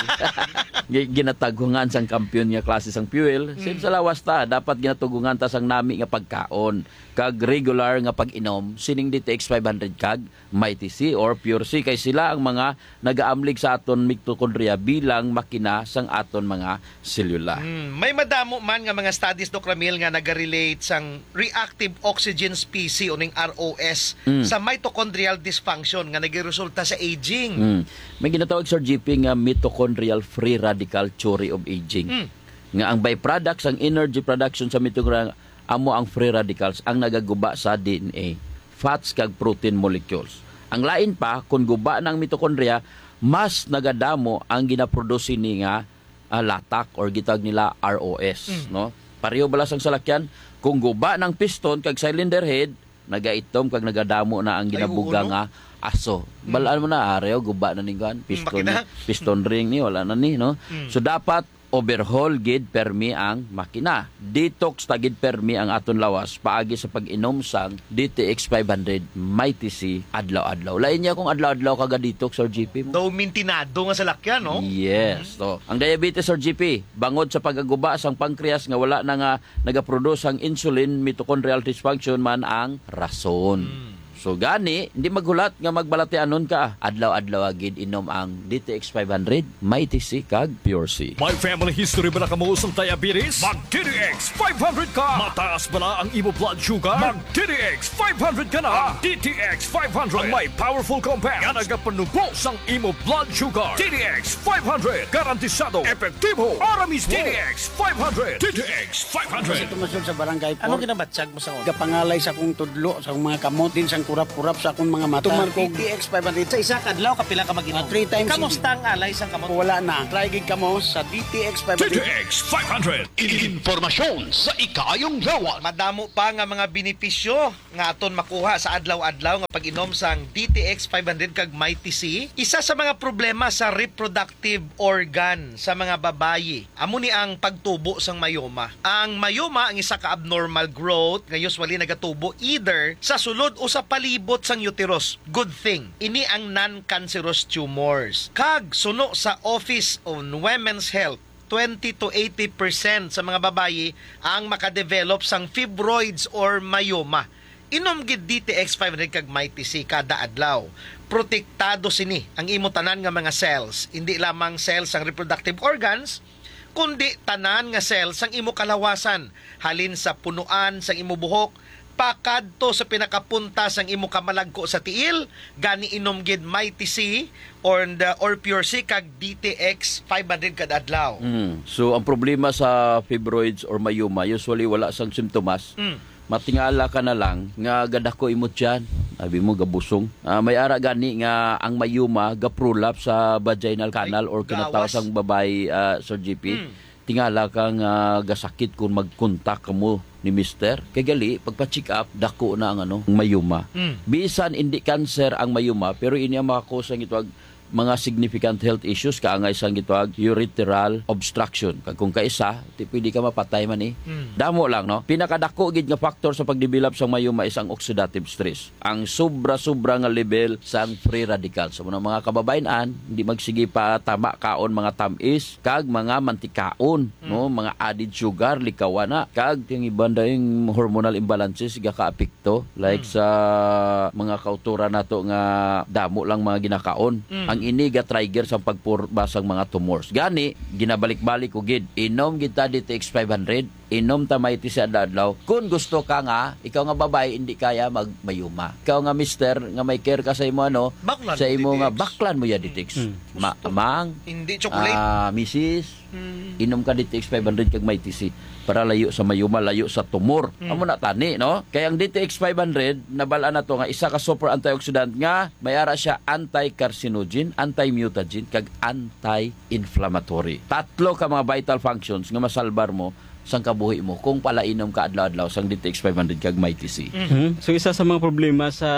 Gi-, ginataghungan sang kampiyon nga klase sang fuel. Same Mm. sa lawas ta, dapat ginatughungan ta sang nami nga pagkaon kag regular nga pag-inom sining D T X five hundred kag Mighty C or Pure C, kay sila ang mga nagaamlig sa aton mitochondria bilang makina sang aton mga selula. Hmm, may madamo man nga mga studies, Doc Ramil, nga nagarelate sang reactive oxygen species o ning R O S Mm. sa mitochondrial dysfunction nga nagiresulta sa aging. Mm. May ginatawag, Sir G P, nga mitochondrial free radical theory of aging. Mm. Nga ang byproduct sang energy production sa mitochondria amo ang free radicals ang nagaguba sa D N A, fats kag protein molecules. Ang lain pa, kung guba na ang mitochondria, mas nagadamo ang ginaproduce ni nga, ah, latak or gitawag nila R O S, Mm. no? Pareho bala sang salakyan, kung guba ng piston kag cylinder head, nagaitom kag nagadamo na ang Ay, ginabuga oo, no? nga aso. Mm. Balaan mo na, areho, guba na ning kuan, Mm, piston, makina. piston ring ni, wala na ni, no? Mm. So, dapat overhaul gid permi ang makina. Detox ta gid permi ang aton lawas paagi sa pag-inom sang D T X five hundred Mighty C adlaw-adlaw. Lain niya kung adlaw-adlaw ka ga-detox, Sir G P, mo. Daw mintinado nga salakyan, no? Yes. So, ang diabetes, Sir G P, bangod sa pag-aguba sang pancreas nga wala na nga nagaproduce ang insulin, mitochondrial dysfunction man ang rason. Mm. So gani, hindi maghulat nga magbalatianon ka. Adlaw-adlaw gid inom ang D T X five hundred, Mighty C kag Pure C. May family history ba na kamo sang diabetes? Mag D T X five hundred ka. Mataas ba na ang imo blood sugar? Mag D T X five hundred ka na. Ang D T X five hundred ang may powerful compound nga nagapanubo sang imo blood sugar. D T X five hundred, garantisado, epektibo, para mismo. D T X five hundred. D T X five hundred. Sa tumasod sa barangay Ano four. Ginabatyag mo sa una? Gapangalay sa akong tudlo, sa akong mga kamot, din sang kurap-kurap sa akong mga mata. Tuman ko D T X five hundred. Sa isa ka adlaw, kapila ka mag-inom? Ah, three times a day. Kamusta ang alay sang kamot? Wala na. Try gid kamo sa D T X five hundred. D T X five hundred. Impormasyon sa ikaayong lawas. Madamo pa nga mga benepisyo nga aton makuha sa adlaw-adlaw nga pag-inom sang D T X five hundred kag Mighty C. Isa sa mga problema sa reproductive organ sa mga babayi amo ni ang pagtubo sang mayoma. Ang mayoma ang isa ka abnormal growth nga usually nagatubo either sa sulod o sa palibot sang uterus. Good thing, ini ang non-cancerous tumors. Kag suno sa Office on Women's Health, twenty to eighty percent sa mga babayi ang makadevelop sang fibroids or mayoma. Inom gid D T X five hundred kag Mighty C kada adlaw. Protektado sini ang imo tanan nga mga cells, indi lamang cells sang reproductive organs, kundi tanan nga cells sang imo kalawasan, halin sa punuan sang imo buhok pakadto sa pinakapunta sang imo kamalagko sa tiil. Gani inom gid Mighty C or the, or Pure C kag D T X five hundred kada adlaw. Mm. So, ang problema sa fibroids or mayoma, usually wala sang simptomas. Mm. Matingala ka na lang nga gadako imo tiyan, abi mo gabusong. Ah, may ara gani nga ang mayoma gaprolapse sa vaginal canal or kinataw Gawas. sang babayi, ah, Sir G P. Mm. Tingala ka nga gasakit kung magkontak kamo ni mister. Kay gali, pagpa-check up, dako na ang ano, ang mayoma. Mm. Bisan hindi cancer ang mayoma, pero ini ang makakusa ang gitawag mga significant health issues, kaangay sang gitawag urethral obstruction. Kag kung kaisa, ti pwede ka mapatay man eh. Mm. Damo lang, no? Pinakadako gid nga factor sa pagdevelop sang mayoma is ang oxidative stress. Ang sobra-sobra nga level sang free radicals. Sa mga, mga kababayen-an, hindi magsige pa tama kaon mga tamis kag mga mantikaon, Mm. no? Mga added sugar, likawan na. Kag ang iban dayong hormonal imbalances gakaapekto, like Mm. sa mga kauturan nato nga damo lang mga ginakaon. Mm. Ang ini ga-trigger sa pagporma sang mga tumors. Gani, ginabalik-balik ko gid, inom gid ta D T X five hundred, inom ta Mighty C adlaw-adlaw. Kung gusto ka nga, ikaw nga babayi, hindi kaya magmayuma. Ikaw nga mister, nga may care ka sa imo, ano, Baklan sa mo imo D T X. nga, baklan mo ya D T X. Hmm. Ma-, Gusto. mang, Hindi chocolate. ah, misis, Hmm. inom ka D T X five hundred kag Mighty C para layo sa mayuma, layo sa tumor. Hmm. Amo na tani, no? Kay ang D T X five hundred, nabal-an nato nga isa ka super antioxidant nga may ara siya anti-carcinogen, anti-mutagen, kag anti-inflammatory. Tatlo ka mga vital functions nga masalbar mo sang kabuhi mo kung palainom ka adlaw-adlaw sang D T X five hundred kag Mighty C. Mm. Mhm. So, isa sa mga problema sa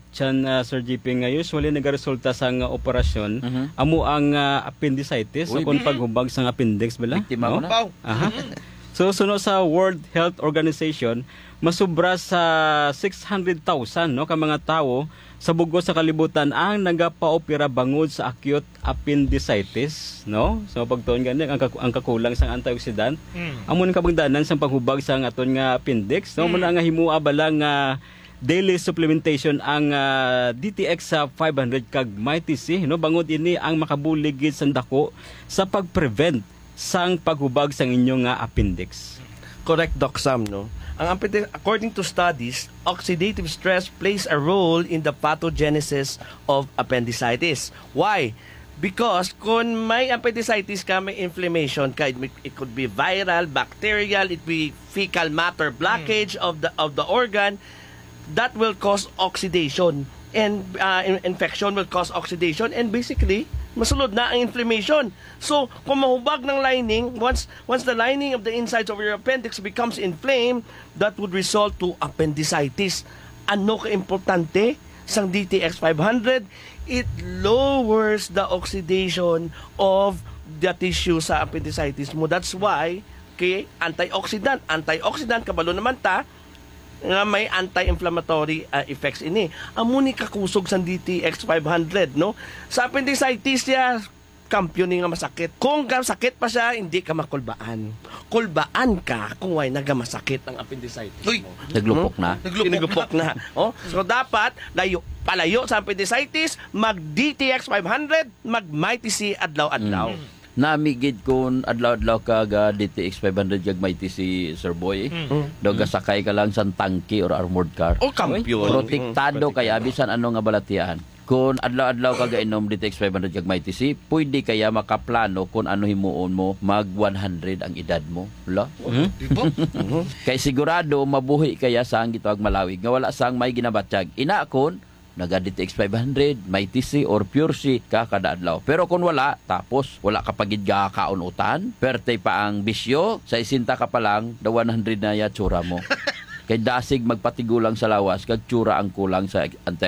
tiyan, ah, Sir G P, nga usually nagaresulta sa nga operasyon, Mhm. amo ang, ah, appendicitis, Uy, o kung bi- paghubag sa appendix, bala? Biktima No? ko na. Pau. Aha. Mhm. So, suno sa World Health Organization, masubra sa six hundred thousand, no, ka mga tawo sa bug-os sa kalibutan ang nagapaopera bangod sa acute appendicitis, no? So, pagtuon gani, ang kaku-, ang kakulang sang antioxidant, Mm. amo ning kabangdanan sang paghubag sang aton nga appendix, no? Mm. Muna nga himoa bala nga daily supplementation ang, ah, D T X sa five hundred kag Mighty C, no? Bangod ini ang makabulig gid sang dako sa pag-prevent sang paghubag sang inyo nga appendix. Correct, Doc Sam, no? Ang appendix, according to studies, oxidative stress plays a role in the pathogenesis of appendicitis. Why? Because kung may appendicitis ka, may inflammation ka, it, it could be viral, bacterial, it be fecal matter blockage Mm. of the, of the organ, that will cause oxidation. And, uh, in-, infection will cause oxidation. And basically, masulod na ang inflammation. So, kung mahubag ng lining, once, once the lining of the insides of your appendix becomes inflamed, that would result to appendicitis. Ano ka importante sang D T X five hundred? It lowers the oxidation of the tissue sa appendicitis mo. That's why kay antioxidant, antioxidant, kabalo naman ta nga may anti-inflammatory, ah, effects ini. Amo ni kakusog sang D T X five hundred, no? Sa appendicitis siya, kampiyon ni nga masakit. Kung ka sakit pa siya, hindi ka makulbaan. Kulbaan ka kung way nagamasakit ang appendicitis Uy! mo. Naglupok na. Naglupok Naglupok na. Oh, so dapat layo, palayo sa appendicitis, mag D T X five hundred, mag Mighty C adlaw-adlaw. Mm. Nami gid kun adlaw-adlaw ka ga D T X five hundred kag Mighty C, Sir Boy. Mm. Daw gasakay ka lang sang tangke or armored car. Oh, kampiyon. Protektado kaya bisan ano nga balatian. Kung adlaw-adlaw ka gainom D T X five hundred kag Mighty C, pwede kaya makaplano kung ano himuon mo mag one hundred ang edad mo. Wala? Di ba? Kay sigurado mabuhi kaya sang gitawag malawig nga wala sang may ginabatyag. Ina kon naga D T X five hundred, Mighty C or Pure C ka kada adlaw. Pero kung wala, tapos wala ka pa gid gakaon utan, perte pa ang bisyo, sesenta ka pa lang, the one hundred na ya tsura mo. Kay dasig magpatigulang sa lawas kag tsura ang kulang sa anti